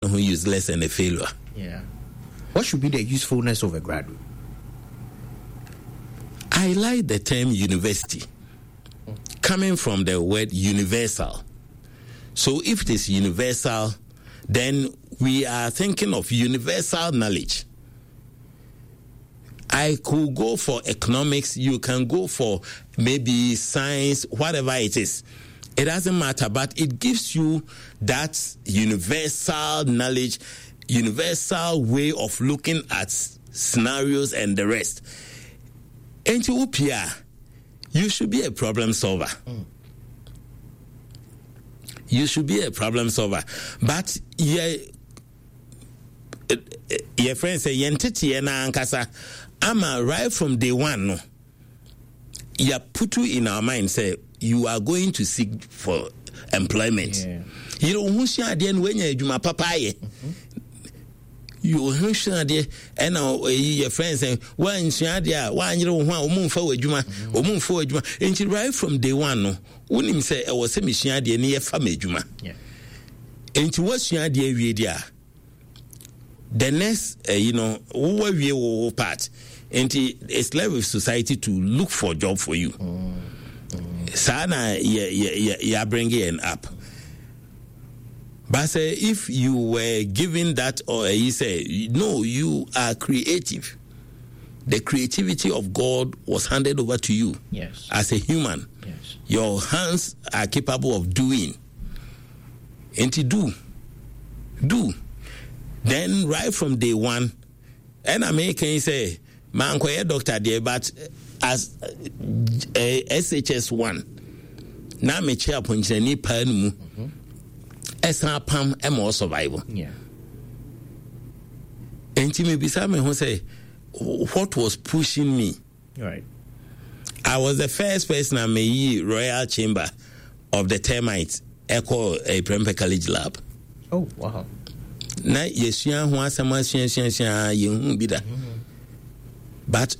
Ho useless and a failure. Yeah. What should be the usefulness of a graduate? I like the term university, coming from the word universal. So if it is universal, then we are thinking of universal knowledge. I could go for economics, you can go for maybe science, whatever it is. It doesn't matter, but it gives you that universal knowledge, universal way of looking at scenarios and the rest. And to you should be a problem solver. You should be a problem solver. But yeah, your friend say yɛn teteɛ na ankasa ama right from day one no yɛ put in our mind sɛ you are going to seek for employment yɛrɛ wo ho sua adeɛ no woanya adwuma papa ayɛ wo ho sua adeɛ ɛna ɛyi yɛ friend sɛ woansua adeɛ a woanyere wo ho a wɔn mfa wɔ adwuma wɔn mfa wɔ adwuma nti right from day one no wonim sɛ ɛwɔ sɛ mesua adeɛ ne yɛfa me adwuma nti woasua adeɛ awie deɛ a the next wowɔ awie wo part nti it's left with society to look for job for you. Saa na yɛ yɛ yɛ bring yɛn up. But sɛ if you were given that or you say no, you are creative. The creativity of God was handed over to you as a human. Your hands are capable of doing. Nti do. Do. Then right from day one, ɛna meka yi sɛ mankɔyɛ doctor deɛ, but as SHS 1 na mekyɛ apɔnkyerɛni paa no mu ɛsan apam ɛma ɔ survive. Nti mebisa me ho sɛ what was pushing me? I was the first person a meyi royal chamber of the termites ɛkɔ Prempeh College lab. Oh, wow. Na yɛsua ho asɛm asuasuasua yɛnhu bi da. But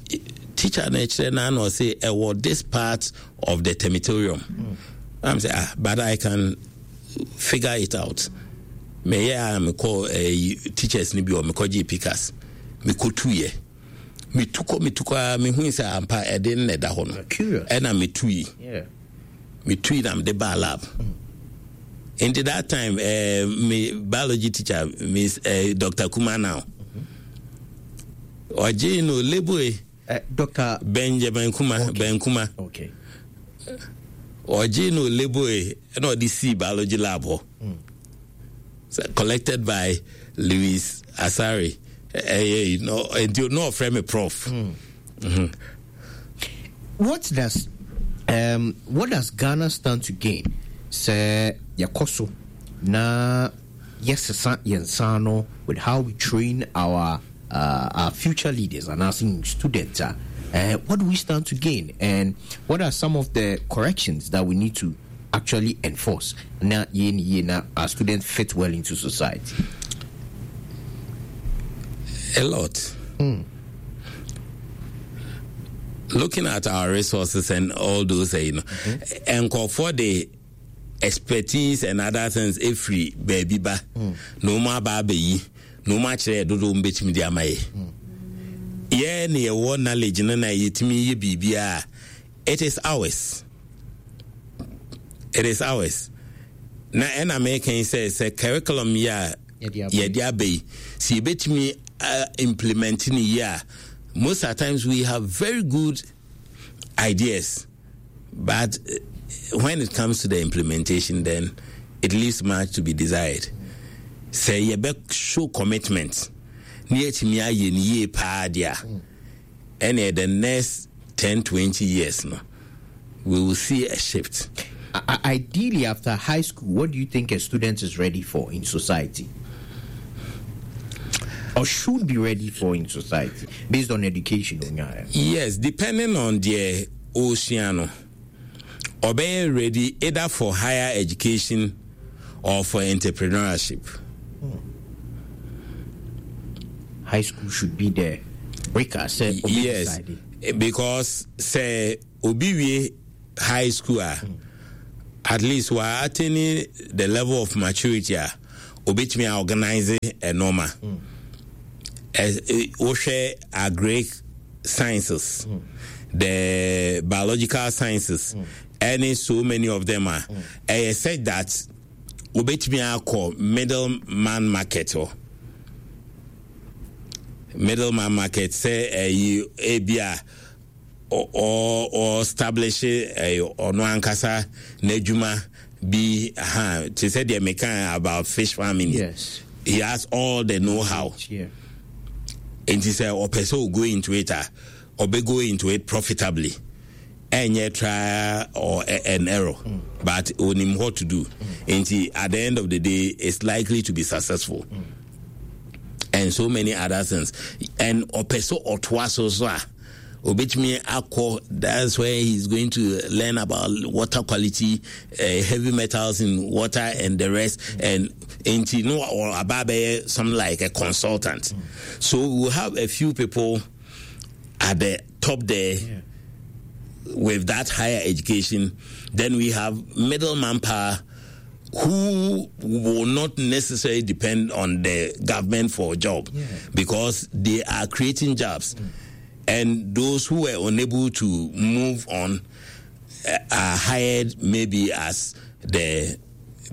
teacher na ɛkyerɛ na na ɔse ɛwɔ this part of the termitorium. I'm say, ah, but I can figure it out. Meyɛ a mekɔ teachers ni bi wɔ mekɔ gye pickaxe mekɔtuyɛ metu kɔ metu kɔ a mehu sɛ ampa ɛde no na ɛda hɔ no ɛna metui metui na mede baa lab. Nti that time me biology teacher, Miss Dr. Kuma now ɔgye no label. Dr. Benjamin Kuma. Ben Kuma. Ɔgye no label ɛna ɔde sii biology lab hɔ. So, collected by Louis Asari. No, nti no ɔfrɛ me prof. What does Ghana stand to gain? Sɛ yɛkɔ so na yɛsesa yɛn nsa no with how we train our future leaders and as students, what do we stand to gain, and what are some of the corrections that we need to actually enforce na yɛn yie na our students fit well into society? A lot. Looking at our resources and all those, and for the expertise and other things, every baby ba, no more baby, no more chair, do do mbetimi di amaye. Yeah, near one knowledge, no na yetimi ye bibia. It is ours. It is ours. Na ɛna meka yi sɛ sɛ curriculum yi a yɛde aba yi sɛ yɛbɛtumi implement ne yi a, most of the times we have very good ideas, but when it comes to the implementation, then it leaves much to be desired. Sɛ yɛbɛ show commitment ne yɛtumi ayɛ ne yie paa deɛ a, ɛne the next 10 20 years no, we will see a shift. Ideally, after high school, what do you think a student is ready for in society? Or should be ready for in society, based on education? Yes, depending on the oceano, or be ready either for higher education or for entrepreneurship. High school should be there. Breaker sɛ Yes, because sɛ obi wie high school a, at least wa attaining the level of maturity a. Obetumi a organize nneɛma. Wohwɛ agric sciences, the biological sciences, ɛne so many of them a ɛyɛ such that obetumi akɔ middle man market hɔ. Middle man market sɛ ɛyi ebi a ɔ establish ɔno ankasa n'adwuma bi ha te sɛ deɛ meka about fish farming. Yes. He has all the know-how. Nti sɛ ɔpɛ sɛ o go into it a, ɔbɛ go into it profitably. Ɛnyɛ trial or an error, but onim what to do. Nti at the end of the day, it's likely to be successful. And so many other things. And ɔpɛ sɛ ɔtoa so so a, obetumi akɔ, that's where he's going to learn about water quality, heavy metals in water and the rest. And nti no or aba abɛyɛ something like a consultant. So we'll have a few people at the top there with that higher education. Then we have middle manpower who will not necessarily depend on the government for a job because they are creating jobs. And those who were unable to move on are hired maybe as the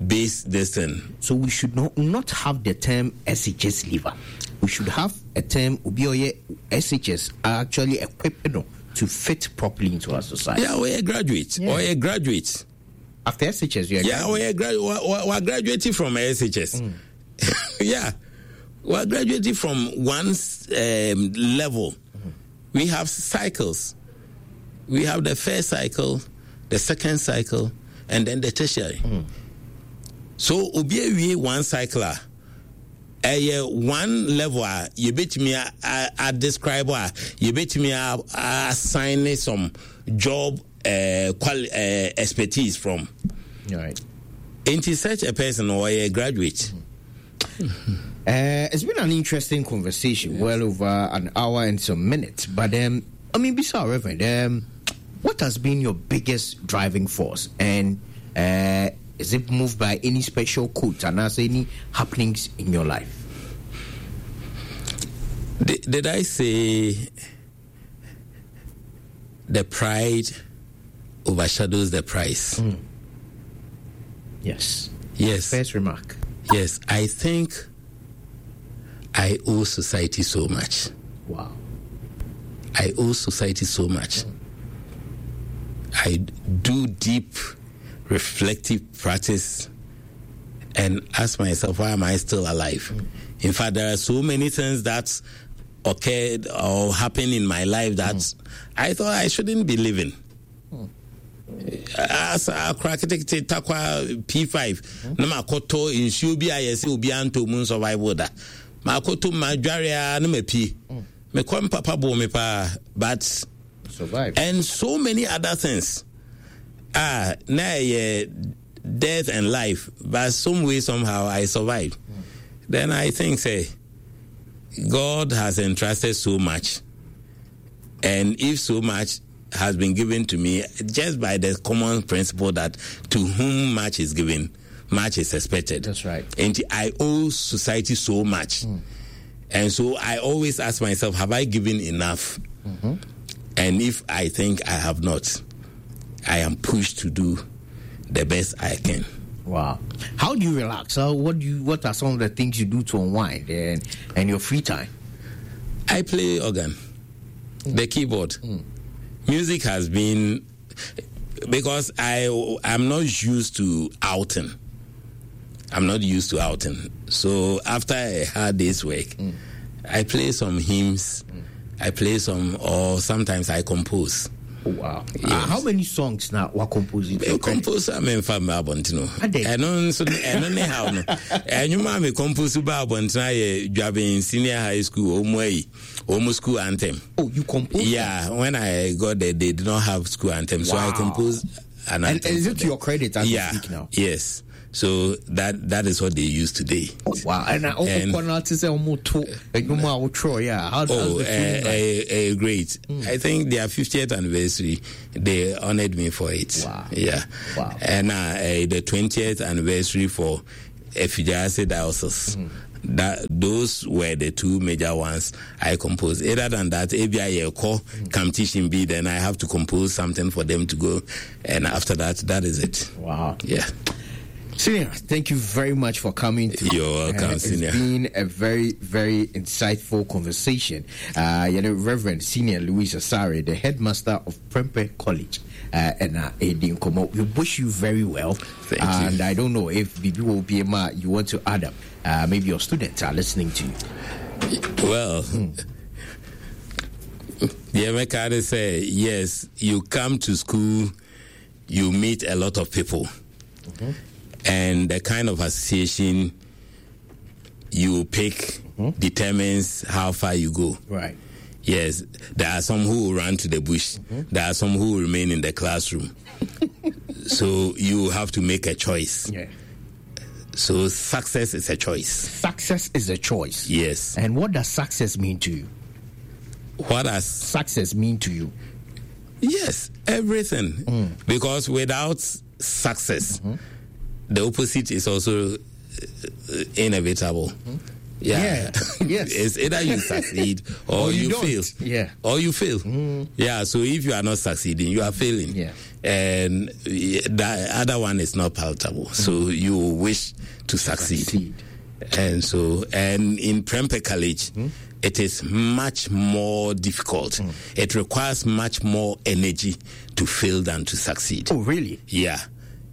base this thing. So we should not have the term SHS leaver. We should have a term obi SHS are actually equipped to fit properly into our society. Yeah, we're a graduate. Or a graduate. After SHS, you're a Yeah, graduate. we're graduating from SHS. Yeah. We're graduating from one level. We have cycles. We have the first cycle, the second cycle, and then the tertiary. So, obi awie one cycle a, ɛyɛ one level a yɛbɛtumi a describe a yɛbɛtumi a assign some job expertise from. Nti such a person or a graduate. It's been an interesting conversation, well over an hour and some minutes. But Bisa Reverend, what has been your biggest driving force, and is it moved by any special quote and has any happenings in your life? Did I say the pride overshadows the price? Yes. Yes. First remark. Yes, I think I owe society so much. Wow. I owe society so much. I do deep reflective practice and ask myself, why am I still alive? In fact, there are so many things that occurred or happened in my life that I thought I shouldn't be living. As a crack takwa P5, na makoto nsuo bi a yɛsɛ obi anto mu survival da. Makoto ma dware a na ma pie. Me kɔ papa bo me pa, but survive. And so many other things. Na ye death and life, but some way somehow I survived. Then I think say God has entrusted so much, and if so much has been given to me, just by the common principle that to whom much is given, much is expected. That's right. And I owe society so much. And so I always ask myself, have I given enough? And if I think I have not, I am pushed to do the best I can. Wow. How do you relax? What are some of the things you do to unwind and your free time? I play organ, the keyboard. Music has been, because I'm not used to outing. I'm not used to outing. So after a hard day's work, I play some hymns, I play some, or sometimes I compose. Oh, wow. Yes. How many songs now were composing? Me compose, I mean, for my abonto. Ade. I don't so, I don't know how. No. And you ma me compose ba abonto na ye Juaben Senior High School, Omwei, Omo School Anthem. Oh, you composed? Yeah, when I got there, they did not have school anthem, so I Wow. composed an And anthem is for it to them. your credit as you Yeah. speak now? Yes. So that is what they use today. Oh, wow. And I also And corner to say, oh, to, and you know, I try, yeah. How does Oh, the feeling like? great. I think their 50th anniversary, they honored me for it. Wow. Yeah. Wow. And the 20th anniversary for Effiduase Diocese. That those were the two major ones I composed. Other than that, ABI competition B, then I have to compose something for them to go, and after that, that is it. Wow. Yeah. Senior, thank you very much for coming through. You're welcome, It's Senior. been a very, very insightful conversation. Reverend Senior Louis Asare, the headmaster of Prempeh College, and Edin Komo. We wish you very well. Thank you. And I don't know if Bibi will be a you want to add up. Maybe your students are listening to you. Well, yeah, my card say, yes, you come to school, you meet a lot of people. And the kind of association you pick determines how far you go. Yes, there are some who will run to the bush. There are some who will remain in the classroom. So you have to make a choice. So success is a choice. Success is a choice. Yes. And what does success mean to you? What does success mean to you? Yes, everything. Because without success, the opposite is also inevitable. Yeah. Yes. It's either you succeed or, Or you you don't. fail. Or you fail. Yeah. So if you are not succeeding, you are failing. And the other one is not palatable. So you wish to succeed. Succeed. And in Prempeh College, it is much more difficult. It requires much more energy to fail than to succeed. Oh, really? Yeah.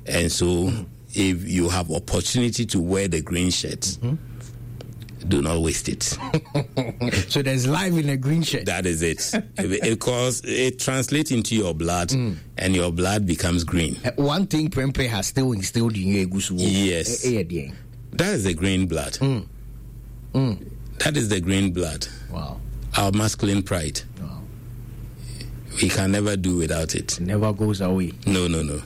And so if you have opportunity to wear the green shirt, do not waste it. So there's life in a green shirt. That is it. Because it translates into your blood, and your blood becomes green. One thing Prempeh has still instilled in you, Egusu. Yes. That is the green blood. That is the green blood. Wow. Our masculine pride. Wow. We can never do without it. It never goes away. No, no, no.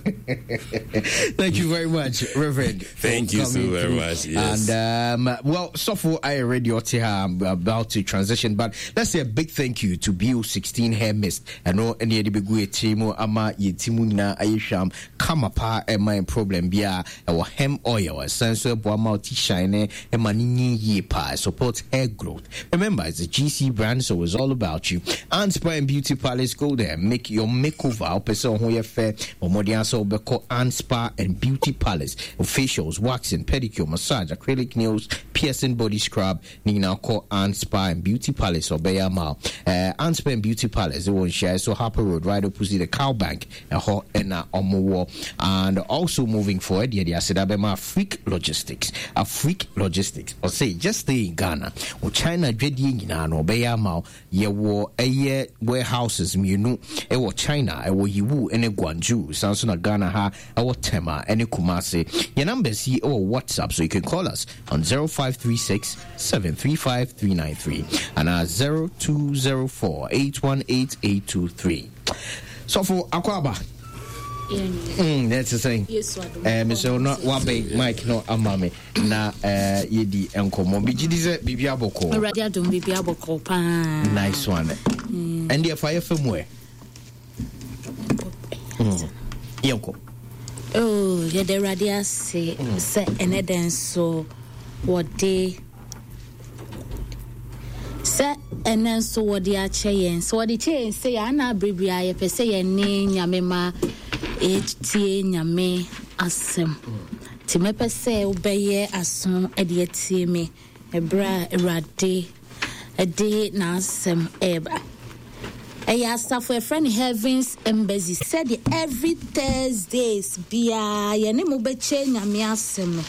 Thank you very much, Reverend. Thank you so coming very through. much. Yes. And well, Sofo, I already I'm about to transition, but let's say a big thank you to BO16 Hair Mist. I know any other big way team ama ye timu na ayesham kama pa my problem bia our hem oil essential boama shine and money ye pa support hair growth. Remember, it's a GC brand, so it's all about you. And Spa and Beauty Palace, go there, make your makeover. Person who you fair or more than so call and Spa and Beauty Palace. Facials, waxing, pedicure, massage, acrylic nails, piercing, body scrub. Nina call and Spa and Beauty Palace or Bear Mall. And Spa and Beauty Palace, they won't share. So Harper Road, right opposite the Cow Bank, a hot and a Omowo. And also moving forward, yeah, the Asedabema Freak Logistics. A Freak Logistics. Or say, just stay in Ghana. Or China, Jedi, no Bear Mall, ye war a year warehouses, you know, e China, e Yiwu, and a Guangzhou, Samsung Ghana, ha, e Tema, and a Kumasi. Your numbers here or WhatsApp, so you can call us on 0536 735 393 and our 0204 818 823. So for Akwaba. That's the same. Yes, I do. Mister No, Wabe, Mike, no, Amame, na, Yedi, and Komo. Biji, this is Bibi Aboko. Already, I don't Bibi Aboko. Nice one. And the fire from where? Yoko. Oh, yeah, the radia say, say, and then so what they say, and then so what they are chain. So what the chain say, Anna Bribia, per se, and name Yamema, H T Yame, Asem. Timepe say, obey as soon as the me, a bra, a rade, a day, Nasem, eba. Eya asafo e friend Heavens Embassy said every Thursdays bia ye ne mo beche nyame asem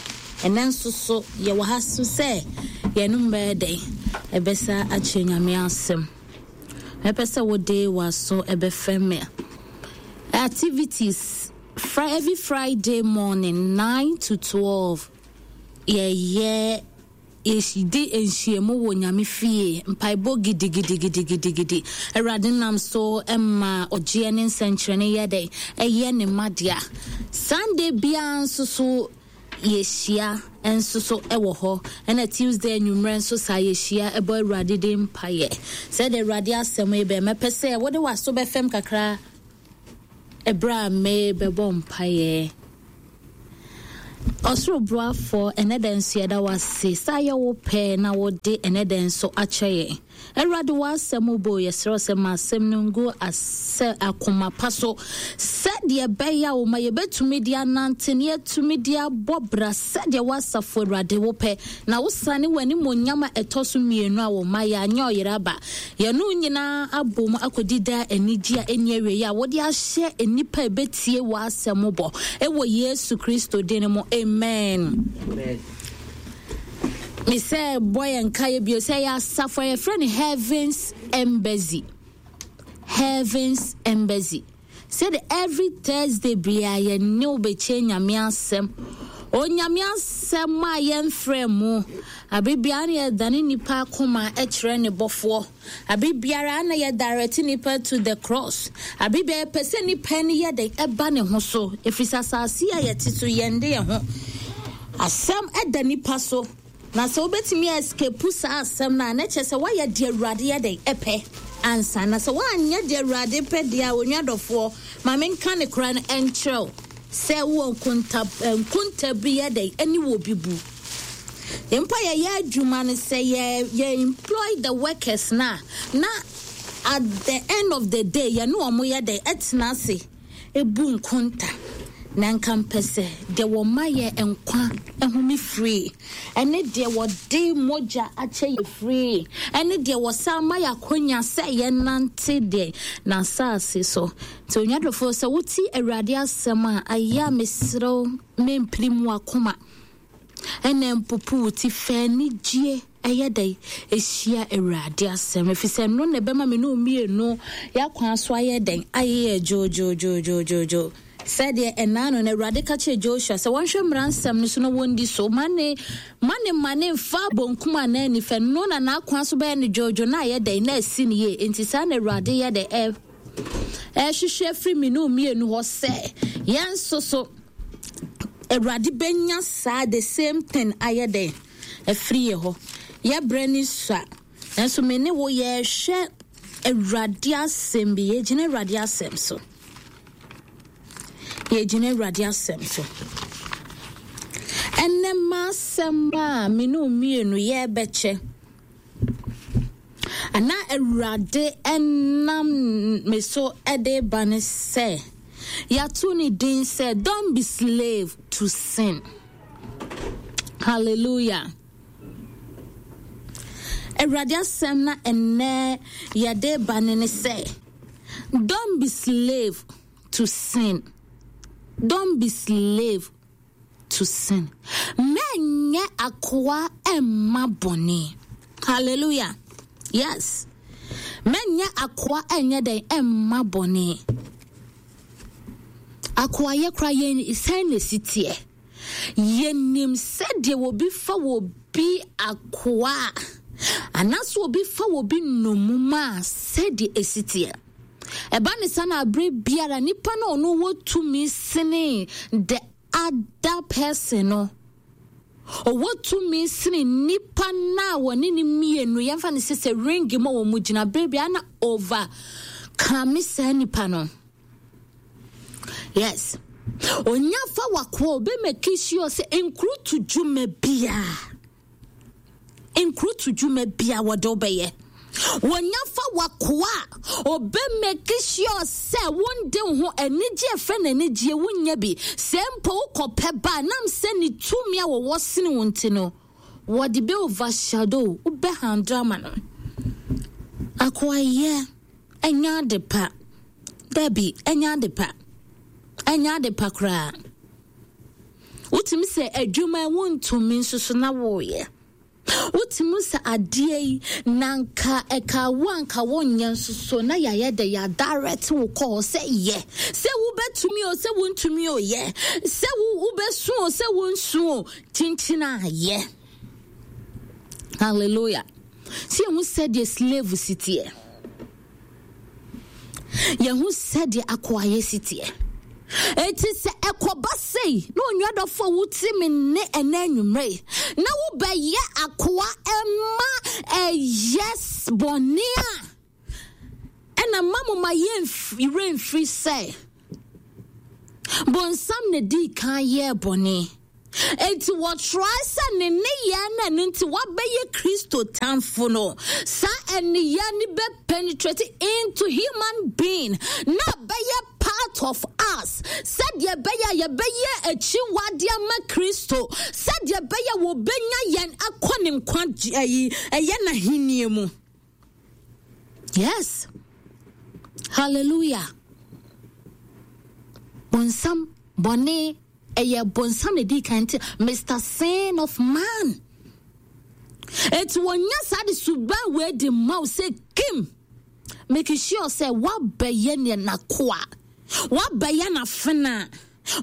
enen so so ye wa haso se ye no be dey ebesa ache nyame asem epese wo dey wa so ebefem activities every Friday morning 9 to 12 ye ye Yeshidi enhyiemu wo nyame fie mpaebo gidi gidi gidi gidi gidi Awurade nam so emma ogye ne nsɛnkyerɛnne yɛ dɛ ɛyɛ ne madia Sunday bia nso so yɛhyia nso so ɛwɔ hɔ ɛna Tuesday anwummerɛ nso saa yɛhyia ɛbɔ Awurade de mpaeɛ sɛ de Awurade asɛm yi bɛ mɛpɛ sɛ wode w'aso bɛfɛm kakra ɛberɛ a me bɛbɔ mpaeɛ. Ɔsoro boafoɔ, ɛnɛ da nso yɛda wo ase sɛ ayɛ wo pɛ na wode ɛnɛ da nso akyɛ yɛn. Awurade w'asɛm bo, yɛsrɛ wo sɛ ma asɛm no ngu asɛ akoma pa so sɛdeɛ ɛbɛyɛ a wo ma yɛbɛtumi de anante ne yɛatumi de abɔ bra sɛdeɛ w'asafo Awurade wo pɛ na wosane w'animuonyam a ɛtɔ so mmienu a wo ma yɛanyɛ ɔyere aba Yɛne wo nyinaa abom akɔdi daa anigye a ɛnni awieeɛ a wode ahyɛ nnipa a ɛbɛtie w'asɛm bɔ. Ɛwɔ Yesu Kristo din mu, amen. Me sɛ bɔ yɛn nkaeɛ bio sɛ yɛ asafo a yɛfrɛ no Heavens Embassy. Heavens Embassy. Sɛde every Thursday bia yɛne wo bɛkyɛ Nyame asɛm. Onyame asɛm a yɛmfrɛ mu. Abere biara na yɛdane nipa akoma kyerɛ ne bɔfoɔ. Abere biara na yɛ direct nipa to the cross. Abere biara yɛpɛ sɛ nipa no yɛ dɛn ɛba ne ho so. Ɛfiri sɛ asase a yɛte so yɛnde yɛn ho. Asɛm ɛda nipa so. Na sɛ wobɛtumi a escape saa asɛm no a, na kyerɛ sɛ woayɛ deɛ Awurade yɛ dɛn? Ɛpɛ ansa. Na sɛ woanyɛ deɛ Awurade pɛ deɛ a, onua dɔfoɔ, ma menka ne korɛ no nkyerɛ wo sɛ wowɔ nkonta, nkonta bi yɛ dɛn? Ɛne wɔ bi bu. Mpo yɛyɛ adwuma no sɛ yɛ, yɛ employ the workers no a, na at the end of the day yɛne wɔn yɛ dɛn? Ɛtena ase. Bu nkonta, na nka mpɛ sɛ deɛ wɔma yɛ nkwa home firi, ɛne deɛ wɔde mogya akyɛ yɛ firi, ɛne deɛ wɔsan ma yɛ akonya sɛ yɛnante deɛ n'asase so. Nti onua dɔfoɔ, sɛ wote Awurade asɛm a, ayɛ a mesrɛ wo mempirim w'akoma. Ɛna mpopo wo ti fa anigyeɛ ɛyɛ dɛn ɛhyia Awurade asɛm, ɛfiri sɛ ɛno na ɛbɛma me ne wo mmienu yɛakwan so ayɛ dɛn ayeyɛ dwoodwoodwoodwoodwo. Sɛdeɛ ɛnaa no na Awurade ka kyerɛ Joshua sɛ wɔnhwɛ mmara nsɛm no so na wɔndi so, ma ne ma ne ma ne mfa bonkum anaa nifa, no na n'akwan so bɛyɛ no dwoodwo na ayɛ dɛn na asi no yie. Enti saa na Awurade yɛ dɛn ɛ ɛhwehwɛ firi me ne wo mmienu hɔ sɛ yɛn nso so Awurade bɛnya saa the same thing ayɛ dɛn afiri yɛ hɔ. Yɛbrɛ ne sua, nanso me ne wo yɛhwɛ Awurade asɛm bi, yɛgyina Awurade asɛm so. Yɛgyina Awurade asɛm so. Ɛnɛ m'asɛm a me ne mmienu yɛbɛkyɛ. Ana Awurade nam me so de ba ne sɛ, yɛato ne din sɛ don't be slave to sin. Hallelujah. Awurade asɛm na ɛnnɛ yɛde ba ne ne sɛ, don't be slave to sin. Don't be slave to sin. Mɛnyɛ akoa mma bɔne. Hallelujah. Yes. Mɛnyɛ akoa ɛnyɛ dɛn ɛmma bɔne. Akoayɛ kora yɛn sɛn na esi teɛ. Yɛnim sɛdeɛ obi fa wɔ bi akoa anaasɛ obi fa wɔ bi nnommum a sɛdeɛ esi teɛ. Ɛba ne saa na abere biara nipa no ɔno wɔ tumi sene the other person no. Ɔwɔ tumi sene nipa no a wɔne ne mmienu yɛmfa no sɛ sɛ ring mu a wɔn gyina bere biara na over kame saa nipa no. Yes. Onya fa wakoa obe make sure sɛ nkurutu dwuma biara nkurutu dwuma bia wɔde wobɛyɛ. Wɔnya fa wakoa a ɔbɛ make sure sɛ wonde wo ho anigye ɛfrɛ no anigyeɛ wonya bi. Sɛ mpo wokɔpɛ ba a nam sɛ ne tumi a wɔwɔ sene wo nti no wɔde bɛ overshadow wobɛ handle ama no. Akoayɛ ɛnyɛ ade pa. Dabi, ɛnyɛ ade pa. Ɛnyɛ ade pa koraa. Wotumi sɛ adwuma wontumi nso so na woyɛ. Wotumi sɛ adeɛ yi na nka ɛka wo anka wonyɛ nso so na yɛayɛ dɛ yɛadirect wo kɔ hɔ sɛ yɛ. Sɛ wobɛtumi o sɛ wontumi o yɛ. Sɛ wobɛsu o sɛ wonsu o kyinkyin a yɛ. Hallelujah. Sɛ yɛhu sɛdeɛ slave si teɛ. Yɛhu sɛdeɛ akoayɛ si teɛ. Enti sɛ ɛkɔba sei na onua dɔfo a wote me nne ɛnɛ anwummerɛ yi na wobɛyɛ akoa ɛma ɛyɛ bɔne a ɛna ma mo ma yɛnwerɛ mfiri sɛ bonsam na dii kan yɛɛ bɔne. Enti wɔtrae sɛ ne nneyɛɛ no ɛno nti wabɛyɛ Kristo tamfo no, saa nneyɛɛ no bɛ penetrate into human being na abɛyɛ part of us sɛdeɛ ɛbɛyɛ a yɛbɛyɛ akyiwadeɛ ama Kristo, sɛdeɛ ɛbɛyɛ wɔbɛnya yɛn akɔ ne nkwa ayi ɛyɛ n'ahennie mu. Yes. Hallelujah. Bonsam bɔne ɛyɛ bonsam na ɛdii kan nti Mr. Sin of man. Eti wɔnya saa de suban wei de ma wo sɛ kim make sure sɛ woabɛyɛ ne n'akoa, woabɛyɛ n'afena,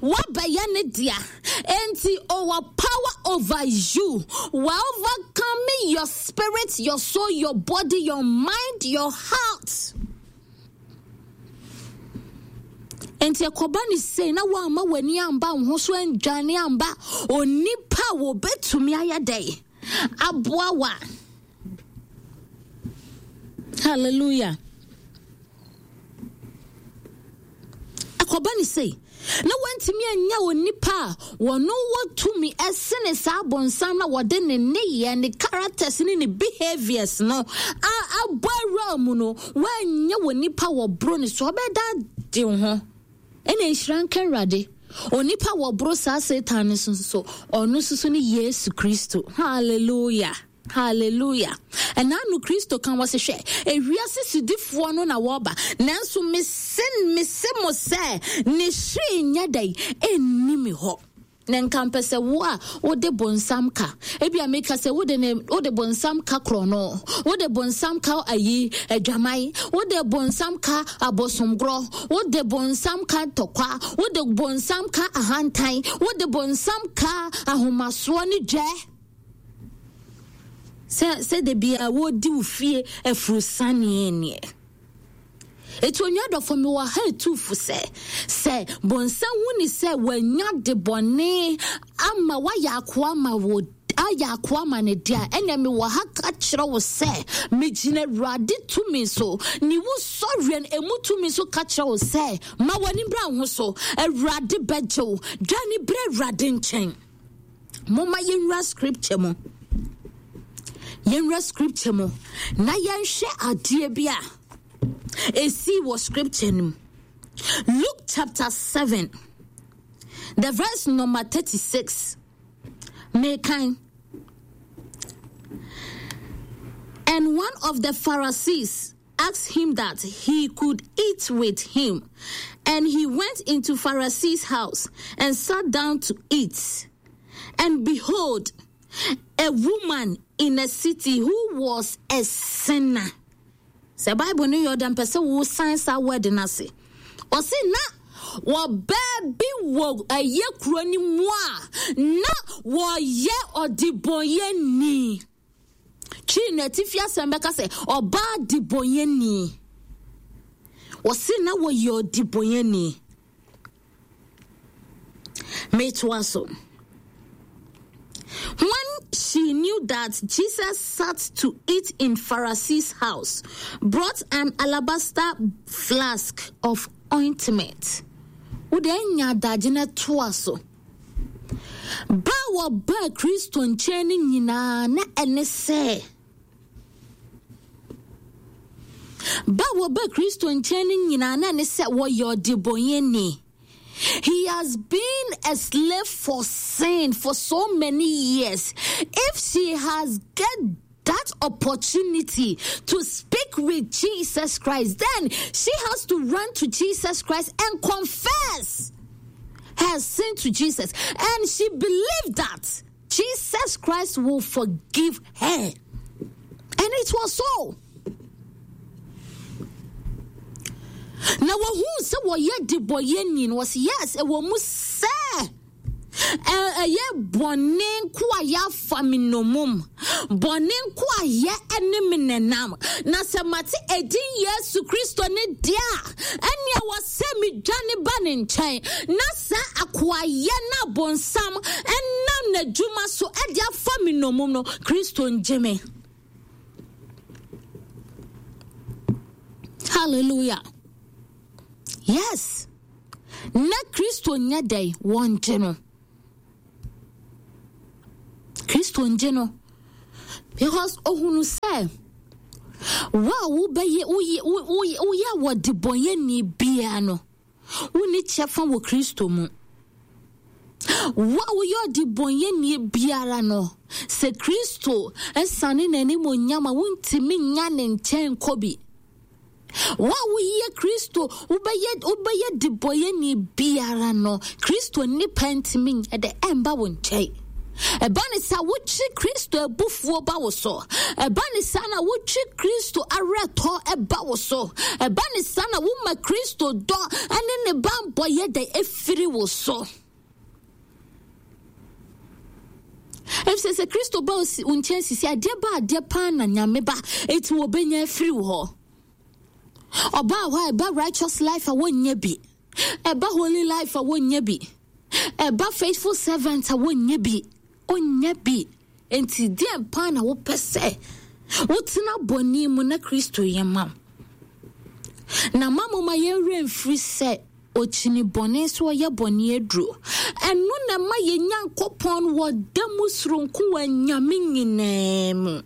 woabɛyɛ ne dea. Enti ɔwɔ power over you, wa overcome your spirit, your soul, your body, your mind, your heart. Enti ɛkɔba ne sei na woamma w'ani amba wo ho so andwane amba onipa a wɔbɛtumi ayɛ dɛn aboa wa. Hallelujah. Ɛkɔba ne sei na wantumi anya onipa a wɔno wɔ tumi ɛsene saa bonsam na wɔde ne nneyɛɛ ne characters ne ne behaviors no abɔ awura mu no wanyɛ wɔ nipa wɔ boro ne so ɔbɛda de ho ɛna nhyira nka Awurade onipa wɔ boro saa Satan no so so ɔno nso so ne Yesu Kristo. Hallelujah. Hallelujah. Ɛna ano Kristo ka wɔ se hwɛ, ewiase sodifoɔ no na wɔba, nanso mese mese mo sɛ ne hwee nyɛ dɛn ɛnni me hɔ. Na nka mpɛ sɛ wo a wode bonsam ka, ebia meka sɛ wode ne wode bonsam ka korɔno, wode bonsam ka ayi adwaman, wode bonsam ka abosomgorɔ, wode bonsam ka ntɔkwa, wode bonsam ka ahantan, wode bonsam ka ahomasoɔ ne dwɛ. Sɛ sɛ da biara wɔredi wo fie afurusaneɛ neɛ. Eti onua dɔfo mewɔ ha etu fo sɛ sɛ bonsam hu ne sɛ wanya de bɔne ama wayɛ akoa ma wo ayɛ akoa ma ne de a ɛnna mewɔ ha ka kyerɛ wo sɛ megyina awurade tumi so ne wo sɔreɛ no emu tumi so ka kyerɛ wo sɛ ma w'ani bra wo ho so awurade bɛgye wo dwane brɛ awurade nkyɛn. Momma yɛnwura scripture mu. Yɛnwura scripture mu na yɛnhwɛ adeɛ bi a ɛsii wɔ scripture no mu. Luke chapter 7, the verse number 36. Mekan. And one of the Pharisees asked him that he could eat with him. And he went into Pharisee's house and sat down to eat. And behold, a woman in a city who was a sinner. Sɛ Bible no yɛ ɔda mpɛ sɛ wo san saa word no ase. Ɔse na wɔbaa bi wɔ ɛyɛ kuro no mu a na wɔyɛ ɔdebɔnyɛni. Twi no atifi asɛm bɛka sɛ ɔbaa debɔnyɛni. Wɔse na wɔyɛ ɔdebɔnyɛni. Metoa so. When she knew that Jesus sat to eat in Pharisee's house, brought an alabaster flask of ointment. Wode anya adagye no toa so. Ba a wɔbaa Kristo nkyɛn no nyinaa na ɛne sɛ ba a wɔbaa Kristo nkyɛn no nyinaa na ɛne sɛ wɔyɛ ɔdebɔnyɛni. He has been a slave for sin for so many years. If she has get that opportunity to speak with Jesus Christ, then she has to run to Jesus Christ and confess her sin to Jesus. And she believed that Jesus Christ will forgive her. And it was so. Na wɔhu sɛ wɔyɛ debɔyɛni no wɔsi yes ɛwɔ mu sɛ Ɛyɛ bɔne nkoayɛ afa me nnommum, bɔne nkoayɛ ne me nenam. Na sɛ mate edin Yesu Kristo ne deɛ a, ɛnneɛ wɔ sɛ medwane ba ne nkyɛn. Na saa akoayɛ no a bonsam nam n'adwuma so de afa me nnommum no, Kristo ngye me. Hallelujah. Yes. Na Kristo nyɛ dɛn? Wɔngye no. Kristo ngye no because ohunu sɛ wo a wobɛyɛ woyɛ woyɛ wɔdebɔnyɛni biara no wonni kyɛfa wɔ Kristo mu. Wo a woyɛ ɔdebɔnyɛni biara no, sɛ Kristo sane n'animuonyam a wontumi nya ne nkyɛn nkɔ bi. Wo a woyɛ Kristo, wobɛyɛ wobɛyɛ debɔyɛni biara no, Kristo nnipa ntumi nyɛ dɛ ɛmba wo nkyɛn. Ɛba ne saa wotwe Kristo abufuo ba wo so. Ɛba ne saa na wotwe Kristo awerɛtɔ ba wo so. Ɛba ne saa na woma Kristo dɔ ne ne bammɔ yɛ dɛ efiri wo so. Efisɛ sɛ Kristo ba wo nkyɛn sisi adeɛ ba adeɛ paa na Nyame ba eti wɔbɛnya afiri wo hɔ. Ɔbaa hɔ a ɛba righteous life a wɔnyɛ bi. Ɛba holy life a wɔnyɛ bi. Ɛba faithful servant a wɔnyɛ bi. Ɔnyɛ bi. Enti deɛ paa na wopɛ sɛ wotena bɔne mu na Kristo yɛ ma wo. Na ma moma yɛn werɛ mfiri sɛ Ɔkyini bɔne so ɔyɛ bɔne aduro. Ɛno na ɛma yɛn Nyankopɔn wɔ da mu soronko wɔ anyame nyinaa mu.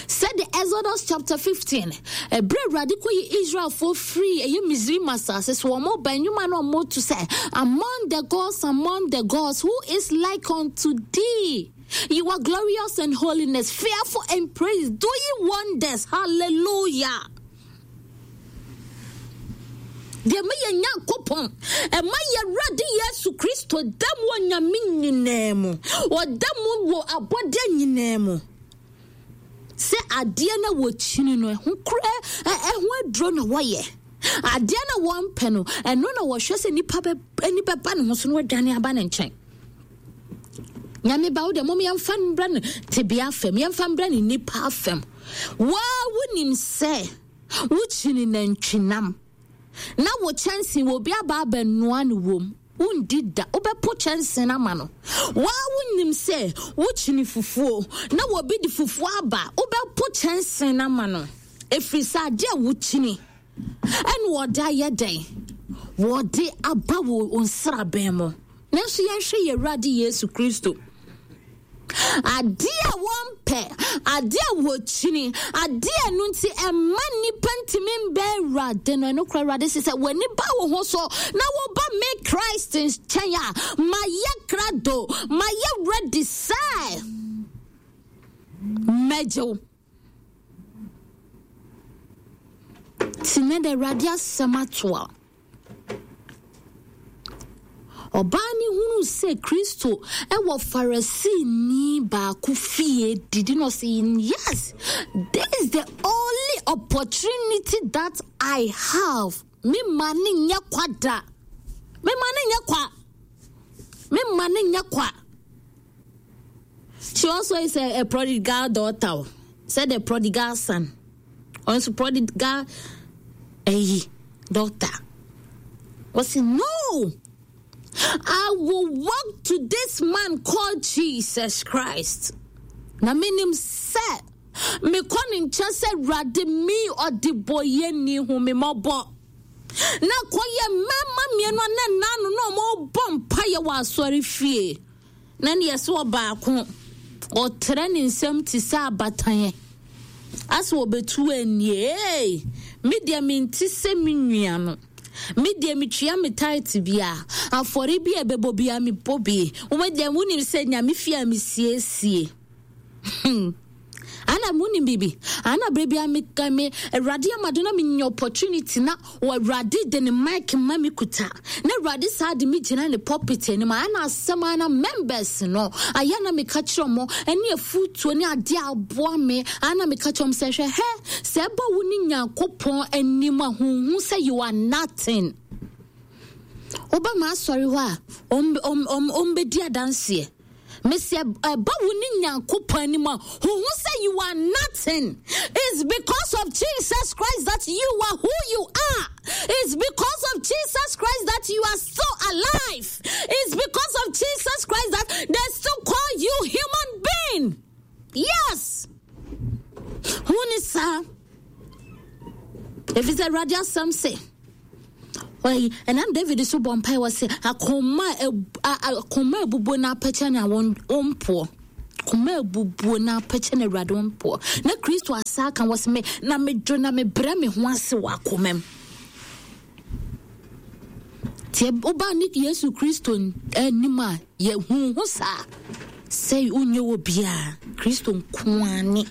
Sɛde Exodus chapter 15, ɛberɛ Awurade kɔyi Israelfoɔ firi ɛyɛ Misraim asase so, wɔn ba nnwuma na wɔn to sɛ, Among the gods, among the gods, who is like unto thee? You are glorious in holiness, fearful in praise, doing wonders. Hallelujah. Deɛ ɛma yɛn Nyankopɔn, ɛma yɛn Awurade Yesu Kristo da mu wɔ nyame nyinaa mu. Ɔda mu wɔ abɔdeɛ nyinaa mu. Sɛ adeɛ na wɔkyini no, ɛho kora, ɛho aduro na wɔyɛ. Adeɛ na wɔmpɛ no, ɛno na wɔhwɛ sɛ nipa bɛ, ani bɛba ne ho so na wɔadwane aba ne nkyɛn. Nyame ba wo deɛ mom yɛmfa mbrɛ no tebea fam, yɛmfa mbrɛ no nipa fam. Waa wonim sɛ wokyini nantwinam na wo kyɛnse wɔ obi aba abɛnoa no wom wondi da wobɛpo kyɛnse no ama no. Waa wonim sɛ wokyini fufuo na wɔbi de fufuo aba wobɛpo kyɛnse no ama no ɛfiri sɛ adeɛ a wokyini ɛna wɔde ayɛ dɛn wɔde aba wɔ nsraban mu. Nanso yɛnhwɛ yɛn Awurade Yesu Kristo. Adeɛ a wɔmpɛ, adeɛ a wɔkyini, adeɛ a ɛno nti ɛmma nnipa ntumi mbɛn Awurade no, ɛno kora Awurade sɛ sɛ w'ani ba wo ho so na woba me Christ nkyɛn a, mayɛ krado, mayɛ ready sɛ mɛgye wo. Nti nɛ de Awurade asɛm ato a. Ɔbaa no hunuu sɛ Kristo wɔ Farisini baako fie didi na ɔsɛ yes, this is the only opportunity that I have. Me ma ne nyɛ kwa da. Me ma ne nyɛ kwa. Me ma ne nyɛ kwa. She also is a prodigal daughter. Said the prodigal son. Ɔno prodigal ɛyi daughter. Wɔsi no. I will walk to this man called Jesus Christ. Na menim sɛ mekɔ ne nkyɛn sɛ Awurade mi ɔdebɔyɛni hu me mmɔbɔ. Na kɔyɛ mmarima mmienu a na nna ano na wɔrebɔ mpaeɛ wɔ asɔre fie. Na ne yɛsɛ ɔbaako ɔtrɛ ne nsam te sɛ abatan asɛ ɔbɛtu anie. Ee, me deɛ mente sɛ me nua no. Me deɛ metua me tithe bia, afɔre bi a ɛbɛbɔ bia mebɔ bi. Wo deɛ wonim sɛ Nyame fie a mesiesie. Hmm. Ana munim biribi? Ana berɛ bia me me Awurade ama do na menya opportunity na wɔ Awurade de ne mic ma me kuta. Na Awurade saa de me gyina ne pulpit anim. Ana asɛm ana members no ayɛ na meka kyerɛ mo ɛne afutuo ne adeɛ a aboa me. Ana meka kyerɛ mo sɛ hwɛ hɛ sɛ ɛba wo ne Nyankopɔn anim a huhu sɛ you are nothing. Woba m'asɔre hɔ a ɔmbɛdi adanseɛ. Mese ɛba wo ne Nyankopɔn anim a, huhu sɛ you are nothing. It's because of Jesus Christ that you are who you are. It's because of Jesus Christ that you are still alive. It's because of Jesus Christ that they still call you human being. Yes. Who ne saa? Ɛfiri sɛ Awurade asɛm se Ɔyi, ɛnam David so bɔ mpae wɔ se, akoma akoma abubuo na apɛkyɛ na wɔn wɔn poɔ. Koma abubuo na apɛkyɛ na Awurade wo mpoɔ. Na Kristo asa aka wɔ sɛ me na medwo na mebrɛ me ho ase wɔ akoma mu. Nti woba ne Yesu Kristo anim a yɛhu ho saa sɛ wonyɛ wɔ biara. Kristo nko ara ne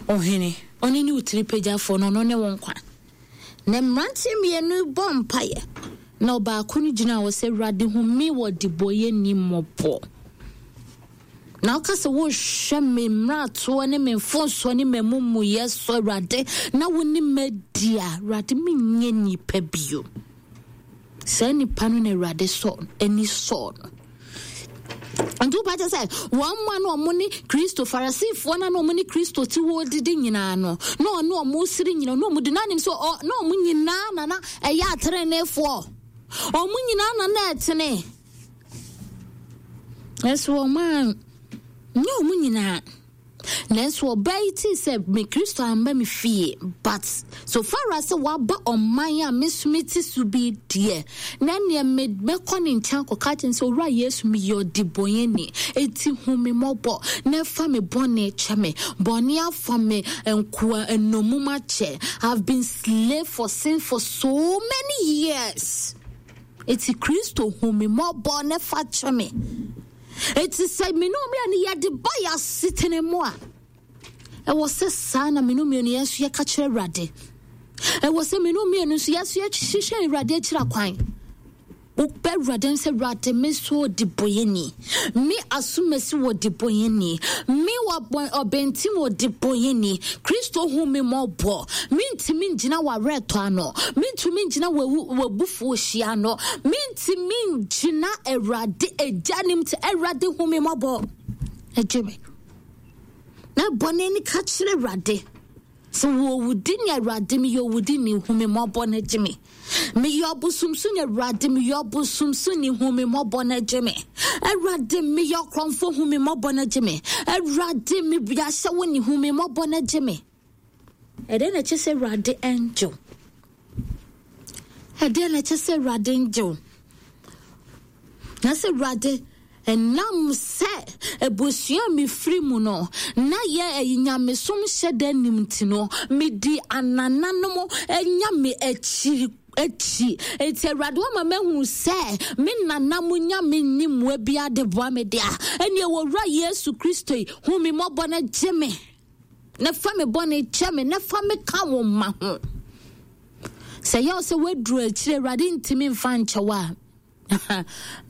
ɔhene. Ɔno ne wo tiri pagyafoɔ no, ɔno ne wo nkwa. Na mmeranteɛ mmienu bɔ mpaeɛ. Na ɔbaako no gyina hɔ sɛ, Awurade hu me wɔ debɔyɛni mmɔbɔ. Na woka sɛ wohwɛ me mmaratoɔ ne me mfomsoɔ ne m'amumuyɛ so, Awurade, na wo ne madi a, Awurade, menyɛ nipa bio. Saa nipa no na Awurade sɔ ani sɔɔ no. Nti wopa kyɛ sɛ wɔn mu a na wɔn ne Kristo, Farisifoɔ no a na wɔn ne Kristo te hɔ didi nyinaa no, na ɔne wɔn siri nyinaa, na wɔn di n'anim sɛ ɔ na wɔn nyinaa na na ɛyɛ ateneneefoɔ. Wɔn nyinaa na na ɛtene. Nanso wɔn a nyɛ wɔn nyinaa. Nanso ɔbaa yi tee sɛ me Kristo amba me fie, but so far as sɛ waba ɔman a me nso mete so bi deɛ, na neɛ me mɛkɔ ne nkyɛn akɔka kyerɛ no sɛ Owura Yesu meyɛ ɔdebɔnyɛni, enti hu me mmɔbɔ na fa me bɔne kyɛ me. Bɔne afa me nkoa nnommum akyɛ. I've been slave for sin for so many years. Enti Kristo hu me mmɔbɔ na fa kyɛ me. Enti sɛ me ne mmienu yɛde ba yɛ asetena mu a, ɛwɔ sɛ saa na me ne mmienu yɛn nso yɛka kyerɛ Awurade. Ɛwɔ sɛ me ne mmienu nso yɛn nso yɛhwehwɛ Awurade akyira kwan. Wobɛ Awurade sɛ Awurade me nso ɔde bɔyɛni. Me asomasi wɔ de bɔyɛni. Me wɔ ɔbɛntim wɔ de bɔyɛni. Kristo hu me mmɔbɔ. Mentumi ngyina w'awerɛtɔ ano. Mentumi ngyina w'abufuo hyia ano. Mentumi ngyina Awurade agya nim te Awurade hu me mmɔbɔ. Agye me. Na bɔne ne ka kyerɛ Awurade. Sɛ wɔwudi ne Awurade meyɛ owudi ne hu me mmɔbɔ no gye me. Meyɛ ɔbosomsoni Awurade meyɛ ɔbosomsoni hu me mmɔbɔ no gye me. Awurade meyɛ ɔkorɔmfo hu me mmɔbɔ no gye me. Awurade meyɛ ahyɛwo ne hu me mmɔbɔ no gye me. Ɛdeɛn na ɛkyɛ sɛ Awurade ngye wo? Ɛdeɛn na ɛkyɛ sɛ Awurade ngye wo? Na sɛ Awurade ɛnam sɛ abusua a mefiri mu no na yɛ ɛyi nyamesom hyɛ da nim nti no medi anananom nyame akyiri akyi nti Awurade wama mahu sɛ me nana mo nyame nni mmoa bi ade boa me dea ɛne ɛwɔ Yesu Kristo yi hu me mmɔbɔ no gye me na fa me bɔne kyɛ me na fa me ka wo mma ho. Sɛ yɛ sɛ woaduru akyire Awurade ntumi mfa nkyɛ wo a,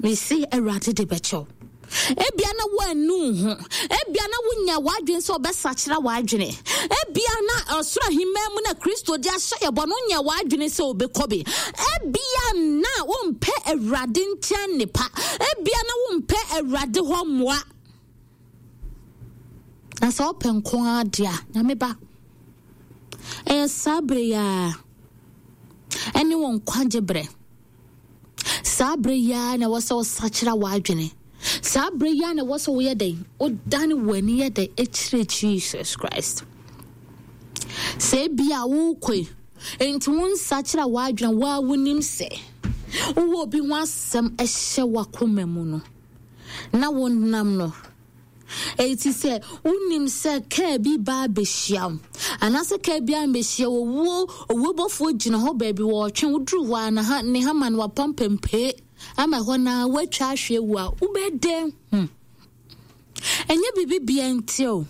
mesi Awurade de bɛkyɛ wo. Ebia na woanu ho. Ebia na wonya w'adwene sɛ ɔbɛsakyera w'adwene. Ebia na ɔsoro ahemman mu na Kristo de ahyɛ yɛ bɔ no wonya w'adwene sɛ wobɛkɔ bi. Ebia na wompɛ Awurade nkyɛn nnepa. Ebia na wompɛ Awurade hɔ mmoa. Na sɛ wopɛ nko ara deɛ a, Nyame ba, ɛyɛ saa berɛ yi ara ɛne wo nkwagye berɛ. Saa berɛ yi ara na ɛwɔ sɛ wosakyera w'adwene. Saa berɛ yi ara na ɛwɔ sɛ woyɛ dɛn? Wodane w'ani yɛ dɛn ɛkyerɛ Jesus Christ. Sɛ ebi a wokɔ yi, nti wo nsakyera w'adwene waa wonim sɛ wowɔ obi ho asɛm ɛhyɛ w'akoma mu no. na wonam no. Enti sɛ wonim sɛ kaa bi ba abɛhyia wo, anaasɛ kaa bi ambɛhyia wo, owuo, owuo bɔfoɔ gyina hɔ baabi wɔɔtwe wo duru hɔ a na ha, ne hama no wapampampee ama ɛhɔ na woatwa ahwe awu a, wobɛdɛn hu? Ɛnyɛ biribi bia nti o.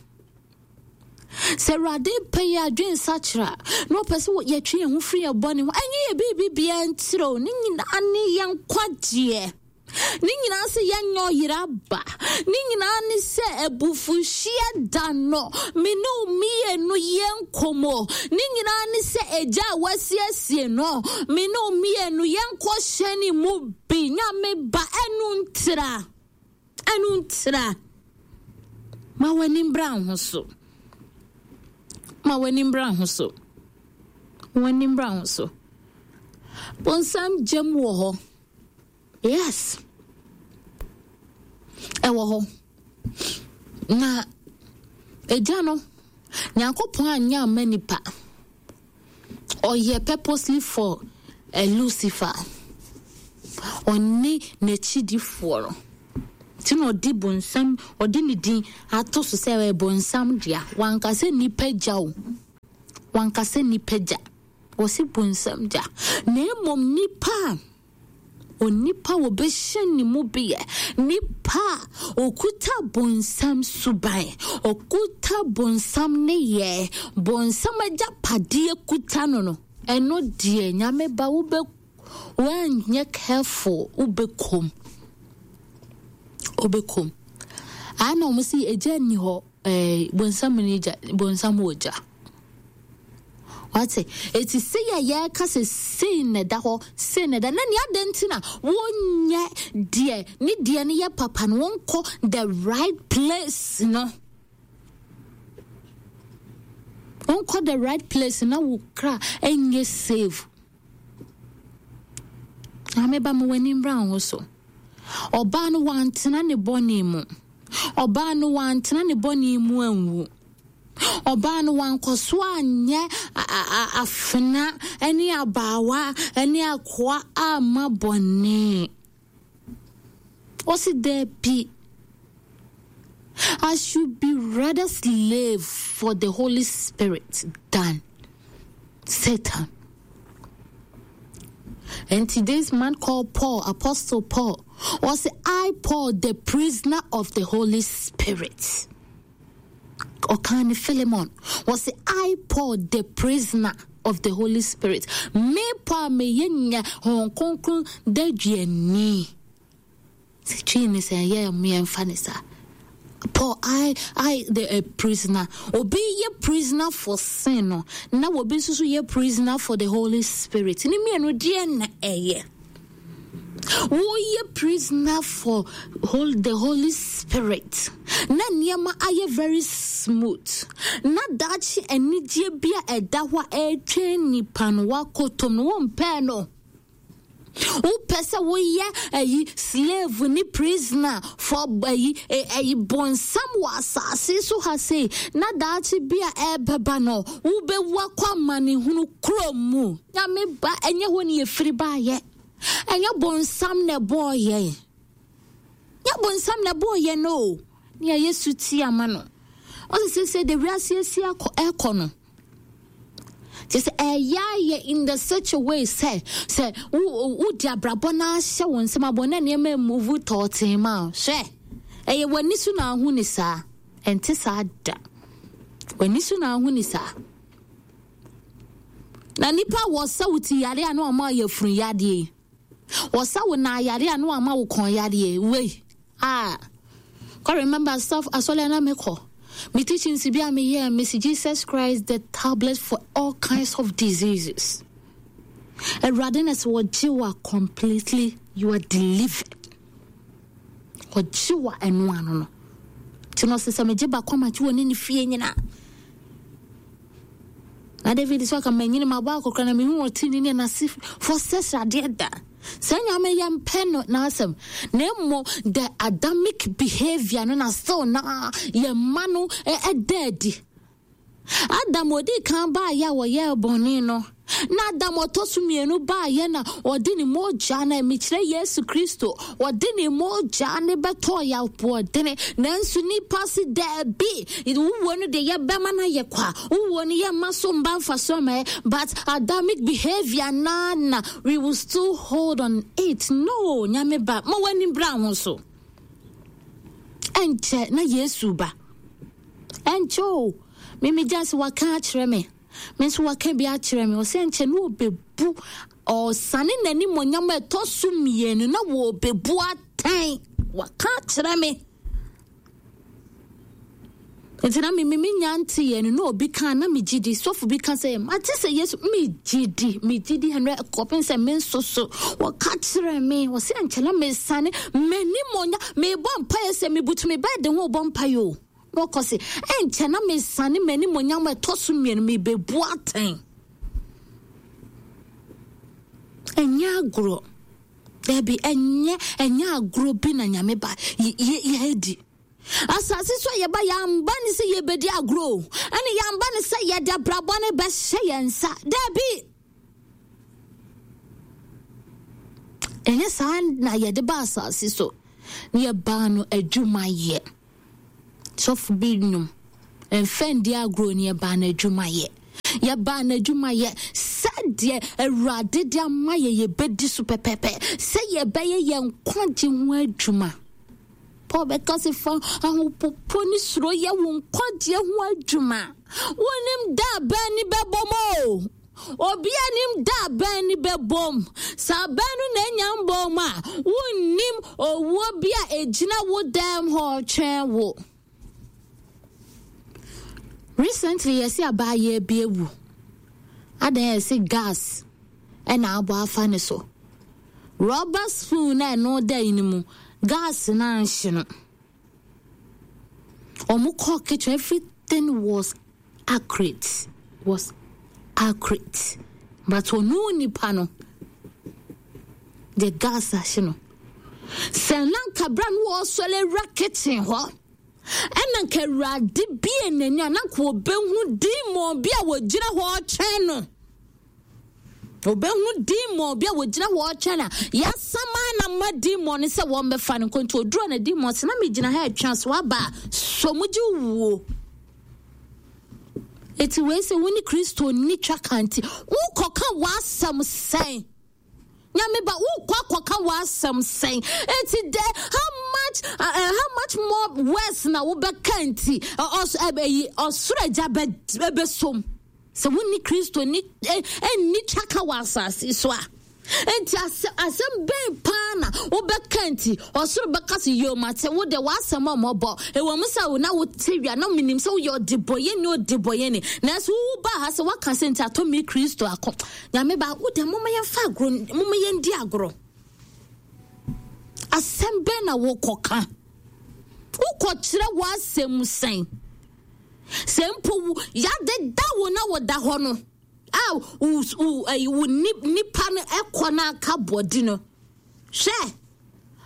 Sɛ Awurade pɛ yɛ adwene sakyera na ɔpɛ sɛ yɛtwe yɛn ho firi yɛn bɔne ho, ɛnyɛ yɛ biribi bia ntire o, ne nyinaa ne yɛn nkwagyeɛ. Ne nyinaa sɛ yɛnyɛ ɔyera ba. Ne nyinaa ne sɛ abufuhyeɛ da no, me ne wo mmienu yɛ nkɔmmɔ. Ne nyinaa ne sɛ agya a wasiesie no, me ne wo mmienu yɛnkɔ hyɛne mu bi. Nyame ba, ɛno ntira. Ɛno ntira. Ma w'ani mbra ho so. Ma w'ani mbra ho so. W'ani mbra ho so. Bonsam gyam wɔ hɔ. Yes. Ɛwɔ hɔ. Na agya no, Nyankopɔn anyɛ amma nipa. Ɔyɛ purposely for a Lucifer. Ɔne n'akyidifoɔ no. Nti na ɔde bonsam, ɔde ne din ato so sɛ ɛyɛ bonsam dea. Wanka sɛ nnipa gya o. Wanka sɛ nnipa gya. Ɔse bonsam gya. Na mmom nnipa a onipa wɔbɛhyɛ ne mu beyɛ nipa a ɔkuta bonsam suban, ɔkuta bonsam ne yɛ, bonsam agyapadeɛ kuta no no, ɛno deɛ Nyame ba wobɛ woanyɛ careful wobɛkom wobɛkom. Ana wɔn si egya nni hɔ ɛɛ bonsam ne gya, bonsam wɔ gya. Wate? Eti sei a yɛreka sɛ sei na ɛda hɔ, sei na ɛda, na nea adɛn nti na wonyɛ deɛ ne deɛ no yɛ papa no, wonkɔ the right place no. Wonkɔ the right place na wo kra ɛnyɛ save. Maame ba ma w'ani mbra wo ho so. Ɔbaa no wantena ne bɔne mu. Ɔbaa no wantena ne bɔne mu anwu. Ɔbaa no wankɔ so anyɛ afena ne abaawa ne akoa amma bɔne. Ɔsi daabi. I should be rather slave for the Holy Spirit than Satan. And this man called Paul, Apostle Paul, was I, Paul, the prisoner of the Holy Spirit. Ɔkaa ne Philemon, ɔse, I Paul, the prisoner of the Holy Spirit, me Paul a meyɛ nya Honhom Kronkron daduani. Sɛ twi ne sɛ ɛyɛ mmeɛmfa ne saa. Paul, I, the prisoner. Obi yɛ prisoner for sin no, na obi nso so yɛ prisoner for the Holy Spirit. Ne mmienu deɛ na ɛyɛ. Woyɛ prisoner for the Holy Spirit na nneɛma ayɛ very smooth na daakye anigyeɛ bi a ɛda hɔ a ɛretwɛn nipa no wakɔtɔm no wompɛɛ no. Wopɛ sɛ woyɛ ayi slave ne prisoner for ayi ayi bɔnsam wɔ asase so ha sei na daakye bi a ɛrebɛba no wobɛwu akɔ amanehunu kurom mu. Nyame ba, ɛnyɛ hɔ ne yɛfiri baayɛ. Ɛnyɛ bonsam na ɛbɔɔ yɛn. Nyɛ bonsam na ɛbɔɔ yɛn o. Ne yɛyɛ suti ama no. Ɔsɛ sɛ sɛ de wiase asi akɔ ɛkɔ no. Kyɛ sɛ ɛyɛ ayɛ in the such a way sɛ sɛ wo wo di abrabɔ na ahyɛ wo nsam abɔ na nneɛma move tɔɔtee ma hwɛ. Ɛyɛ w'ani so na ahu ne saa. Ɛnte saa da. W'ani so na ahu ne saa. Na nipa wɔsa wo ti yare a na wɔama yafunu yadeɛ yi. Wɔsa wo nan yare a na wɔama wo kɔn yadeɛ wei. Ah. Kɔ remember stuff asɔre a na mekɔ. Me teachings bi a meyɛ mesi Jesus Christ the tablet for all kinds of diseases. Awurade na sɛ wɔgye wo a completely you are delivered. Ɔgye wo a ɛno ano no. Nti no ɔsɛ sɛ megye baako ama gye wɔ ne ne fie nyinaa. Na David sɛ ɔka manyini mabɔ akɔkora na mehu ɔtene ne n'ase fo sɛ sradeɛ da. Sɛ nyame yɛ mpɛ no n'asɛm na mmom the Adamic behavior no na still na yɛ mma no ɛda adi. Adam odii kan baeɛ a wɔyɛɛ bɔne no, na Adam ɔtɔ so mmienu baeɛ na ɔde ne mogya na mekyerɛ Yesu Kristo, ɔde ne mogya ne bɛtɔɔ yɛ aboɔdene. Nanso nipa se daabi, wowuo no deɛ yɛbɛma no ayɛ kwa, wowuo no yɛmma so mba mfasoɔ ma yɛ, but Adamic behavior naa na we will still hold on it. No, Nyame ba, ma w'ani bra ho so. Ɛnkyɛ na Yesu ba. Ɛnkyɛ o, me me gya sɛ waka akyerɛ me. Me nso waka bi akyerɛ me. Ɔsɛ ɛnkyɛ na ɔbɛbu, ɔsane n'animonyam a ɛtɔ so mmienu na wɔbɛbu atɛn. Waka akyerɛ me. Nti na me me nya nte yɛ no na obi ka na me gye di. Sɔfo bi ka sɛ mate sɛ Yesu me gye di, me gye di ɛnrɛ kɔpem sɛ me nso so wɔka kyerɛ me. Ɔsɛ ɛnkyɛ na mesane m'animonyam mebɔ mpaeɛ sɛ mebutu me bɛɛde ho bɔ mpaeɛ o. Na ɔkɔ se, Ɛnkyɛ na mesane m'animuonyam a ɛtɔ so mmienu, mebebu atɛn. Ɛnyɛ agorɔ. Dabi, ɛnyɛ, ɛnyɛ agorɔ bi na Nyame ba yɛadi. Asase so a yɛba, yɛamba ne sɛ yɛbɛdi agorɔ o. Ɛne yɛamba ne sɛ yɛde abrabɔ no bɛhyɛ yɛn nsa. Dabi! Ɛnyɛ saa na yɛde ba asase so. Na yɛbaa no adwuma yɛ. Sɔfo bi nnwom. Mfa ndi agorɔ ni yɛbaa no adwuma yɛ. Yɛbaa no adwuma yɛ sɛdeɛ Awurade de ama yɛ yɛbɛdi so pɛpɛpɛ sɛ yɛbɛyɛ yɛn nkwagye ho adwuma. Paul bɛka sɛ fa ahopopo ne suro yɛ wo nkwagyeɛ ho adwuma. Wonim da bɛn ne bɛbɔ mu o. Obi anim da bɛn ne bɛbom. Sɛ abɛn no na anya mbɔɔ mu a, wonnim owuo bi a ɛgyina wo dɛm hɔ retwɛn wo. Recently yɛsi abaayewa bi awu. Adan yɛsi gas ɛna abɔ afa ne so. Rubber spoon na ɛno da yi no mu, gas no anhye no. Wɔn kɔɔ kitchen, everything was accurate, was accurate. But ɔno nipa no, the gas ahye no. Sɛ na nka bra no wɔsɔre awura kitchen hɔ, ɛna nka awurade bie n'ani a na nka wɔbɛhu demon bi a wɔgyina hɔ ɔtwɛn no. Obehu demon bi a wɔgyina hɔ ɔtwɛn a yɛasama na ma demon no sɛ wɔmmɛfa no nkonto oduro na demon sɛ na megyina ha atwa so aba a sɔ mu gye wuo. Eti wei sɛ wo ne Kristo nni twa ka nti wokɔka w'asɛm sɛn? Nyame ba wokɔ akɔka w'asɛm sɛn? Eti dɛ how much how much more worse na wobɛka nti ɔsoro agya bɛsom. Sɛ wonni Kristo ni nni twaka wɔ asase so a, enti asɛm bɛn paa na wobɛka nti ɔsoro bɛka so yio mate wo deɛ w'asɛm a ɔmɔbɔ ɛwɔ mu sɛ wo na wote wia na menim sɛ woyɛ ɔdebɔyɛni ɔdebɔyɛni nanso wowu baa ha sɛ woaka sɛ nti atɔ me Kristo ako nyame ba wo deɛ moma yɛmfa agorɔ moma yɛndi agorɔ asɛm bɛn na wokɔka wokɔkyerɛ w'asɛm sɛn Sɛ mpo wo yɛadeda wo na woda hɔ no a wo wo ɛyi wo nipa no ɛkɔ na aka bɔdi no hwɛ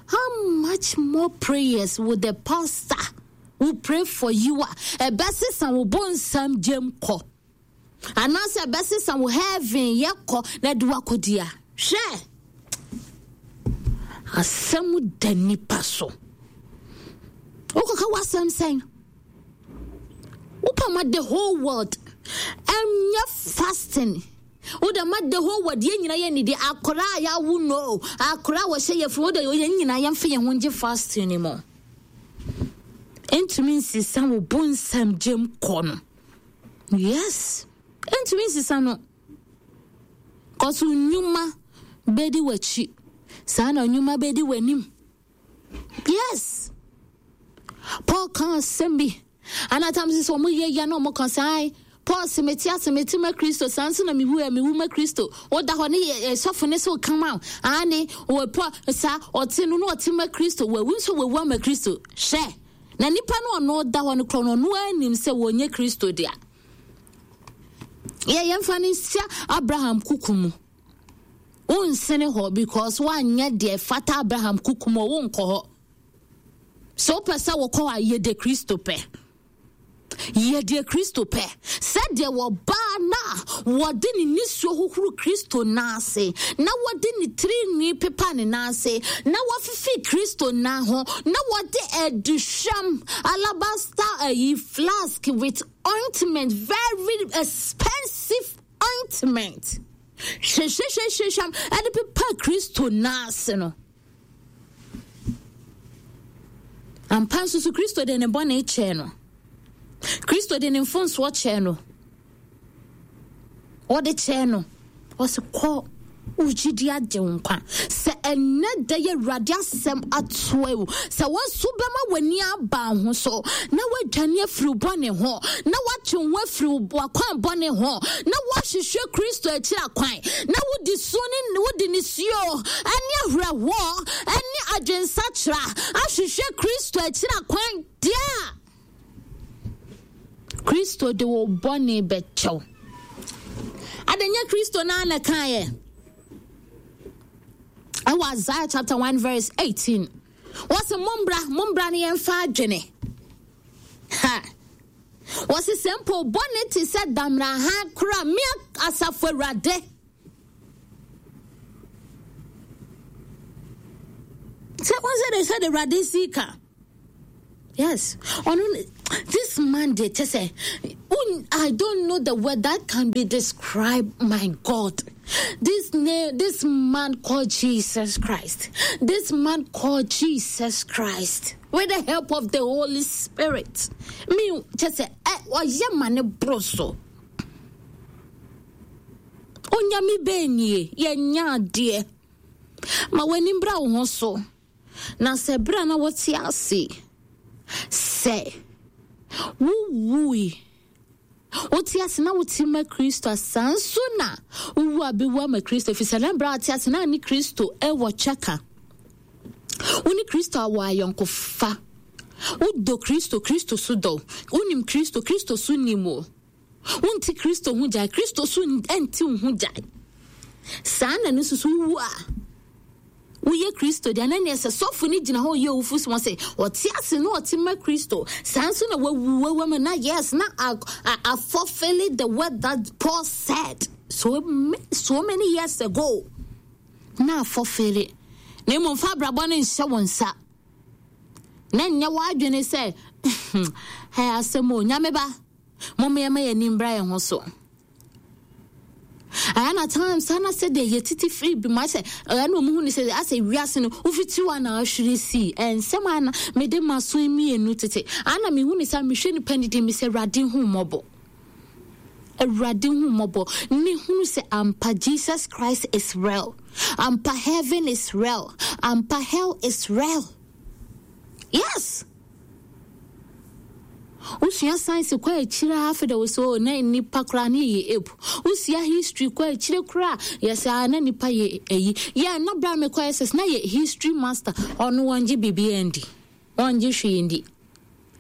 how much more prayers will the pastor will pray for you a ɛbɛsesa wo bonsam gyam kɔ anaasɛ ɛbɛsesa wo heaven yɛ kɔ na ɛde wakɔdi a hwɛ asɛm da nipa so wokɔka w'asɛm sɛn Wopɛ ma the whole world ɛnyɛ fasting. Wode ma the whole world yɛn nyinaa yɛ nidi akora a yɛawo no akora a wɔhyɛ yɛ funu wode yɛn nyinaa yɛmfa yɛn ho ngye fasting no mu. Ntumi nsesa wo bonsam gyem kɔ no. Yes. Ntumi nsesa no. Kɔso nnwuma bɛdi w'akyi. Saa na nnwuma bɛdi w'anim. Yes. Paul ka asɛm bi. Ana tam sɛ wɔn yɛ ya na wɔn ka sɛ ai Paul sɛ mete ase mete ma Kristo saa nso na mewu a mewu ma Kristo. Woda hɔ ne yɛ sɔfo ne so kama ane wɔ Paul saa ɔte no na ɔte ma Kristo wawu nso wawu ama Kristo. Hwɛ na nipa no ɔno da hɔ no korɔ no ɔno anim sɛ wɔnyɛ Kristo dea. Yɛ yɛmfa no nhyɛ Abraham kuku mu. Wonsene hɔ because woanyɛ deɛ ɛfata Abraham kuku mu, wonkɔ hɔ. Sɛ wopɛ sɛ wokɔ hɔ a, yɛ deɛ Kristo pɛ. Yɛ deɛ Kristo pɛ. Sɛdeɛ wɔbaa no a wɔde ne nisuo hohoro Kristo nan ase, na wɔde ne tirinwi pepa ne nan ase, na wɔfifi Kristo nan ho, na wɔde aduhwam alabaster ayi flask with ointment, very expensive ointment. Hwehwehwehwehwam de pepa Kristo nan ase no. Ampa nso so Kristo de ne bɔne kyɛɛ no. Kristo de ne mfomsoɔ kyɛɛ no. Ɔde kyɛɛ no. Ɔse kɔ wo gyidi agye wo nkwa. Sɛ ɛnnɛ da yi Awurade asɛm atoa wo, sɛ wo nso bɛma w'ani aba ho so na woadwane afiri wo bɔne ho, na woatwe wo ho afiri w'akwan bɔne ho, na woahwehwɛ Kristo akyiri akwan, na wode su ne wode nisuo ne awerɛhoɔ ne adwensakyera ahwehwɛ Kristo akyiri akwan deɛ a, Kristo de wo bɔne bɛkyɛ wo. Adɛn nyɛ Kristo naa na kaeɛ? Ɛwɔ Isaiah chapter 1 verse 18. Wɔse mombra, mombra ne yɛmfa adwene. Ha! Wɔse sɛ mpo bɔne te sɛ damena kora me asafo awurade. Sɛ wɔn sɛ de sɛ de Awurade si ka. Yes. Ɔno this man deɛ kyɛ sɛ I don't know the word that can be described my God. This name, this man called Jesus Christ. This man called Jesus Christ. With the help of the Holy Spirit. Me kyɛ sɛ ɔyɛ ma ne boro so. Onyame bɛn nie yɛnya adeɛ. Ma w'ani mbra wo ho so. Na sɛ berɛ a na wote ase sɛ wowui, wote ase na wote ma Kristo a, saa nso na wowu a bɛwu ama Kristo, ɛfiri sɛ na berɛ a wote ase na ne Kristo wɔ kyɛka. Wo ne Kristo awɔ ayɔnkofa. Wodɔ Kristo, Kristo so dɔ. Wonim Kristo, Kristo so nim wo. Wonte Kristo ho gyae, Kristo so nte wo ho gyae. Saa na no nso wowu a, woyɛ Kristo deɛ na neɛ sɛ sɔfo no gyina hɔ ɔyɛ owufo so sɛ ɔte ase na ɔte ma Kristo saa nso na wawu wawu ama na yes na a fulfilling the word that Paul said so, so many years ago na afɔfele na mmom fa abrabɔ no nhyɛ wo nsa na nyɛ w'adwene sɛ hɛ asɛm o nyame ba Momma yɛmma yɛn ani mbra yɛn ho so. Ɛyɛ na times ana sɛ deɛ yɛtete firi bi mu asɛ ɛyɛ na ɔmo hu ne sɛ asɛ wiase no wofiti hɔ na ahwere sii ɛnsɛm ana mede maso mmienu tete ana mehu ne sɛ mehwɛ nipa ne din me sɛ awurade hu mmɔbɔ awurade hu mmɔbɔ ne hunu sɛ ampa Jesus Christ is real ampa heaven is real ampa hell is real yes Wosua science kɔ akyire a afei de wo sɛ oh na nnipa koraa ne yɛ ape. Wosua history kɔ akyire koraa yɛsɛ ah na nnipa yɛ ayi. Yɛ na bra mekɔ SS na yɛ history master ɔno wɔngye biribiara ndi. Wɔngye hwee ndi.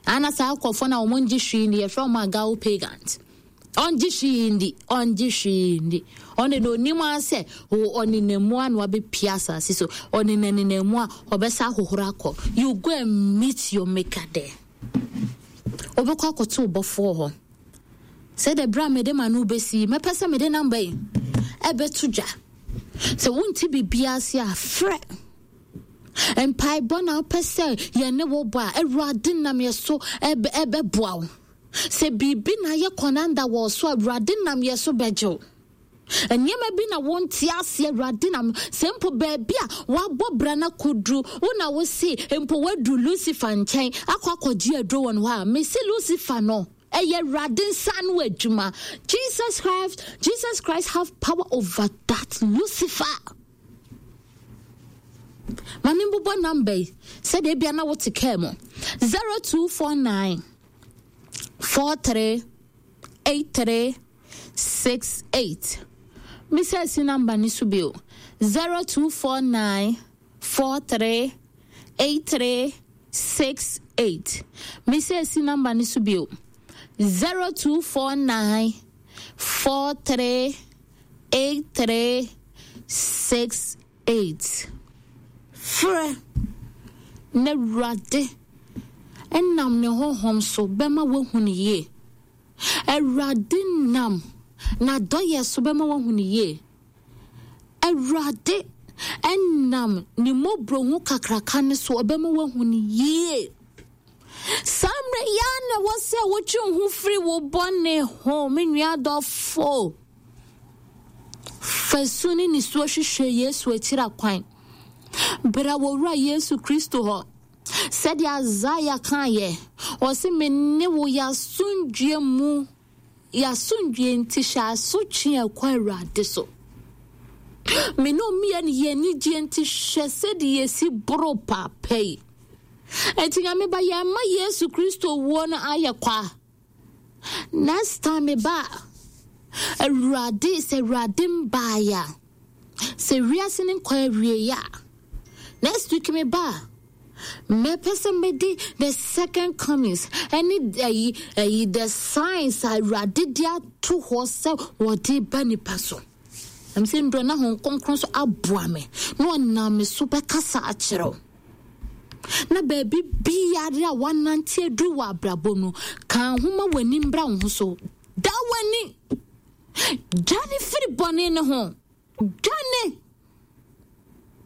Ana saa akɔfoɔ na wɔn ngye hwee ndi yɛfrɛ wɔn agao pagans. Ɔngye hwee ndi, ɔngye hwee ndi. Ɔno de onim ara sɛ ɔnenam mu a na wabɛpia asase so. Ɔnenanenam mu a ɔbɛsa ahohoro akɔ. You go and meet your maker there. Wobɛkɔ akɔto wo bɔfoɔ hɔ. Sɛ de berɛ a mede ma no wobɛsi, mɛpɛ sɛ mede namba yi ɛbɛto dwa. Sɛ wonte biribiara ase a, frɛ. Mpaebɔ na wopɛ sɛ yɛne wo bɔ a, Awurade nam yɛ so ɛbɛboa wo. Sɛ biribi na ayɛ kɔnanda wɔ so a, Awurade nam yɛ so bɛgye wo. Nneɛma bi na wonte ase, Awurade nam sɛ mpo baabi a wabɔ bra no akɔduru, wo na wo se mpo woaduru Lucifer nkyɛn akɔ akɔgye aduro wɔ no hɔ a, mese Lucifer no, ɛyɛ Awurade nsa ano adwuma. Jesus Christ, Jesus Christ have power over that Lucifer. Ma me mbobɔ number yi sɛdeɛ ebia na wote kaa mu 0249 43 83 68 Misa si number ni so bio 0249 43 83 68 Misa si number ni so bio 0249 43 83 68 Frɛ na Awurade nam ne honhom so bɛma woahu no yie. Awurade nam n'adɔyɛ so bɛma woahu no yie. Awurade nam ne mmɔborɔhu kakraka no so ɔbɛma woahu no yie. Saa mmerɛ yi ara na ɛwɔ sɛ wotwe wo ho firi wo bɔne ho, me nua dɔfo. Fa su ne nisuo hwehwɛ Yesu akyiri akwan. Bra wɔ Wura Yesu Kristo hɔ. Sɛdeɛ Isaiah kaeɛ, ɔse me ne wo yɛ asomdwoeɛ mu, yɛ asomdwoeɛ nti hyɛ asotwe a ɛkɔ Awurade so. Me ne ɔmmiɛ no yɛ anigyeɛ nti hwɛ sɛdeɛ yɛsi boro paapa yi. Enti Nyame ba yɛmma Yesu Kristo wuo no ayɛ kwa. Next time me ba a, Awurade sɛ Awurade mbaeɛ a, sɛ wiase no nkɔ awieɛ a, next week me ba a, mɛpɛ sɛ mede the second comings ɛne ayi ayi the signs a Awurade de ato hɔ sɛ wɔde ba nipa so. Ɛm sɛ ndura na Honhom Kronkron so aboa me na ɔnam me so bɛkasa akyerɛ wo. Na baabi biara a woanante aduru wɔ abrabɔ mu, ka ho ma w'ani mbra wo ho so. Da w'ani. Dwane firi bɔne no ho. Dwane.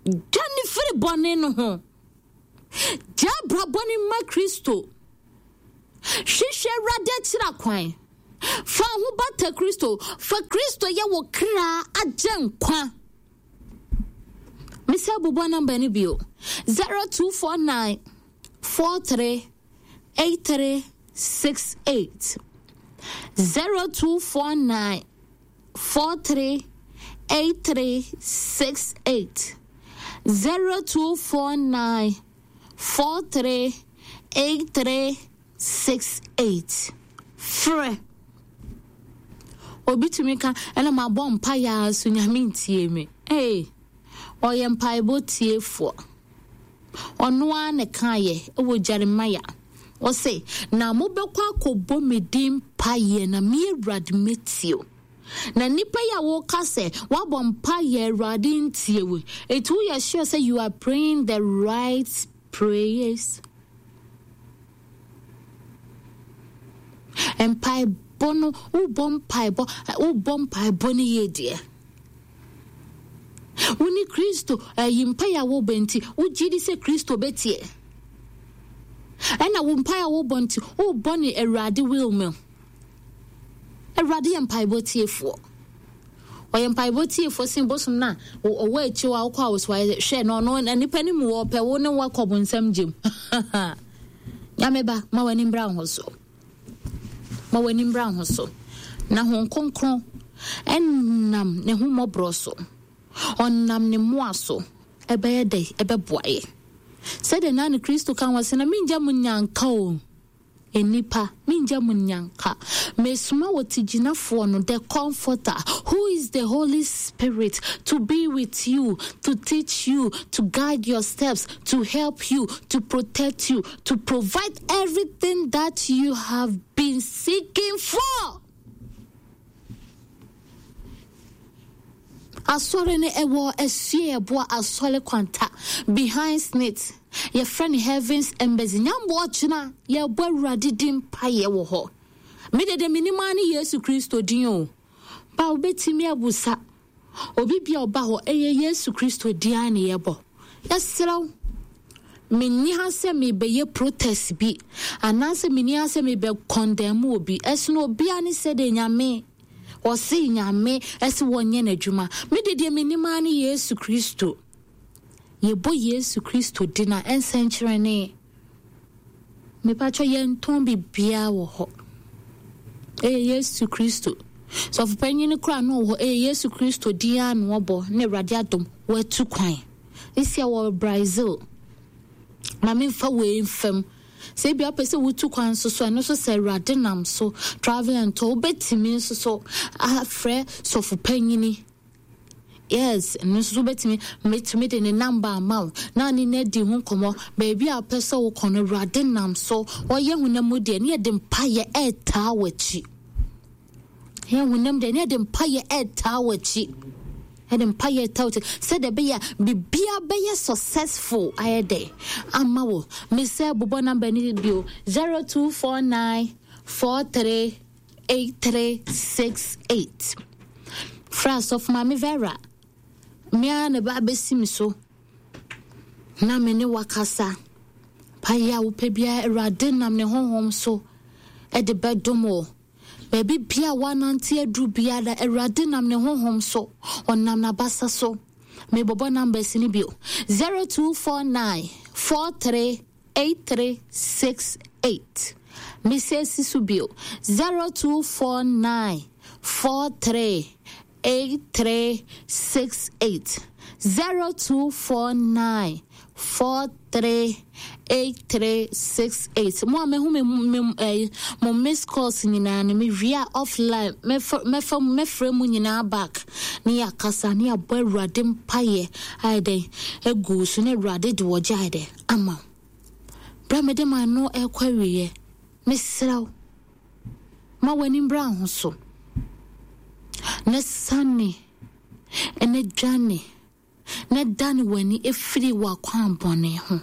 Dwane firi bɔne no ho. Gya abrabɔ no ma Kristo. Hwehwɛ Awurade akyira kwan. Fa ho bata Kristo. Fa Kristo yɛ wo kra agyenkwa. Mesɛ bobɔ namba no bio. 0249 43 8368. 0249 43 8368. 0249 43 8368. Frɛ. Obi tumi ka, ɛna mabɔ mpaeɛ a so Nyame ntie me. Ee, ɔyɛ mpaebɔ tiefoɔ. Ɔno ara na ɛkaeɛ wɔ Jeremiah. Ɔse, na mobɛkɔ akɔbɔ me din mpaeɛ na me Awurade mɛtie o. Na nnipa yi a woka sɛ woabɔ mpaeɛ Awurade ntie wo. Eti woyɛ sure sɛ you are praying the right prayers? Mpaebɔ no, wobɔ mpaebɔ, wobɔ mpaebɔ no yie deɛ. Wo ne Kristo, ɛyi mpaeɛ a wobɔ nti, wogye di sɛ Kristo bɛtie. Ɛna wo mpaeɛ a wobɔ nti, wobɔ ne Awurade will mu. Awurade yɛ mpaebɔ tiefoɔ. Ɔyɛ mpaebɔ tiefoɔ sen bosom no a ɔwɔ akyi hɔ a wokɔ a wɔso ayɛ hwɛ no ɔno nipa no mu ɔpɛ wo ne wakɔ bonsam gyem. Nyame ba, ma w'ani mbra wo ho so. Ma w'ani mbra wo ho so. Na Honhom Kronkron ɛnam ne ho mmɔborɔ so, ɔnam ne mmoa so ɛbɛyɛ dɛ ɛbɛboa yɛ. Sɛdeɛ na ne Kristo ka wɔ sɛ na mengya mo nyanka o. Nnipa, mengya mo nnyanka. Mesoma Ɔtigyinafoɔ no, the Comforter, who is the Holy Spirit, to be with you, to teach you, to guide your steps, to help you, to protect you, to provide everything that you have been seeking for. Asɔre no ɛwɔ Asueɛboa Asɔre Kwanta behind SSNIT. Yɛfrɛ no Heavens Embassy. Nyamboa ɔkyena yɛbɔ Awurade din mpaeɛ wɔ hɔ. Me dede menim ara ne Yesu Kristo din o. Ba wobɛtumi abusa obi bia ɔba hɔ ɛyɛ Yesu Kristo din ara ne yɛbɔ. Yɛserɛ wo menni ha sɛ mebɛyɛ protest bi anaasɛ menni ha sɛ mebɛ condemn obi. Ɛsono obia ne sɛdeɛ Nyame Ɔse Nyame se wɔnyɛ n'adwuma. Me de deɛ menim ara ne Yesu Kristo. Yɛbɔ Yesu Kristo din a ɛnsɛnkyerɛnne. Mepakyɛ yɛntɔn biribiara wɔ hɔ. Ɛyɛ Yesu Kristo. Sɔfopanyin no koraa no wɔ hɔ. Ɛyɛ Yesu Kristo din ara na ɔbɔ na Awurade adom watu kwan. Esi a wɔ Brazil. Ma memfa wei mfam. Sɛ ebia wopɛ sɛ wotu kwan nso so, ɛno nso sɛ Awurade nam so travel and tour, wobɛtumi nso so afrɛ sɔfo panyini. Yes, ɛno nso so wobɛtumi, mɛtumi de ne namba ama wo na ne no adi ho nkɔmmɔ. Baabi a wopɛ sɛ wokɔ no, Awurade nam so ɔyɛ honam mu deɛ, ne yɛde mpayɛ ɛretaa w'akyi. Yɛn honam deɛ ne yɛde mpayɛ ɛretaa w'akyi. Yɛde mpayɛ ɛretaa w'akyi sɛdeɛ ɛbɛyɛ a biribiara bɛyɛ successful ayɛ dɛ ama wo. Mesɛ bobɔ namba no bio 0249 43 8368. Frɛ asɔfo Maame Vera. Me ara na ɛbɛ abɛsi me so na me ne wakasa. Payɛ a wopɛ biara Awurade nam ne honhom so ɛde bɛdom wo. Baabi biara a woanante aduru biara, Awurade nam ne honhom so, ɔnam n'abasa so. Mebɔbɔ numbers no bio. 0249 43 8368. Mesɛ si so bio. 0249 43 8368 0249 43 8368 mo a mehu me me eh, mo miss calls nyinaa no mewie a offline mɛfa mɛfa mɛfrɛ mu nyinaa back ne yɛakasa ne yɛabɔ awurade mpaeɛ ayɛ dɛn agu so ne awurade de wɔgye ayɛ dɛn ama wo berɛ a mede m'ano ɛkɔ awieɛ mesrɛ wo Ma w'ani mbra ho so, na sane na dwane, na dane w'ani firi w'akwammɔne ho.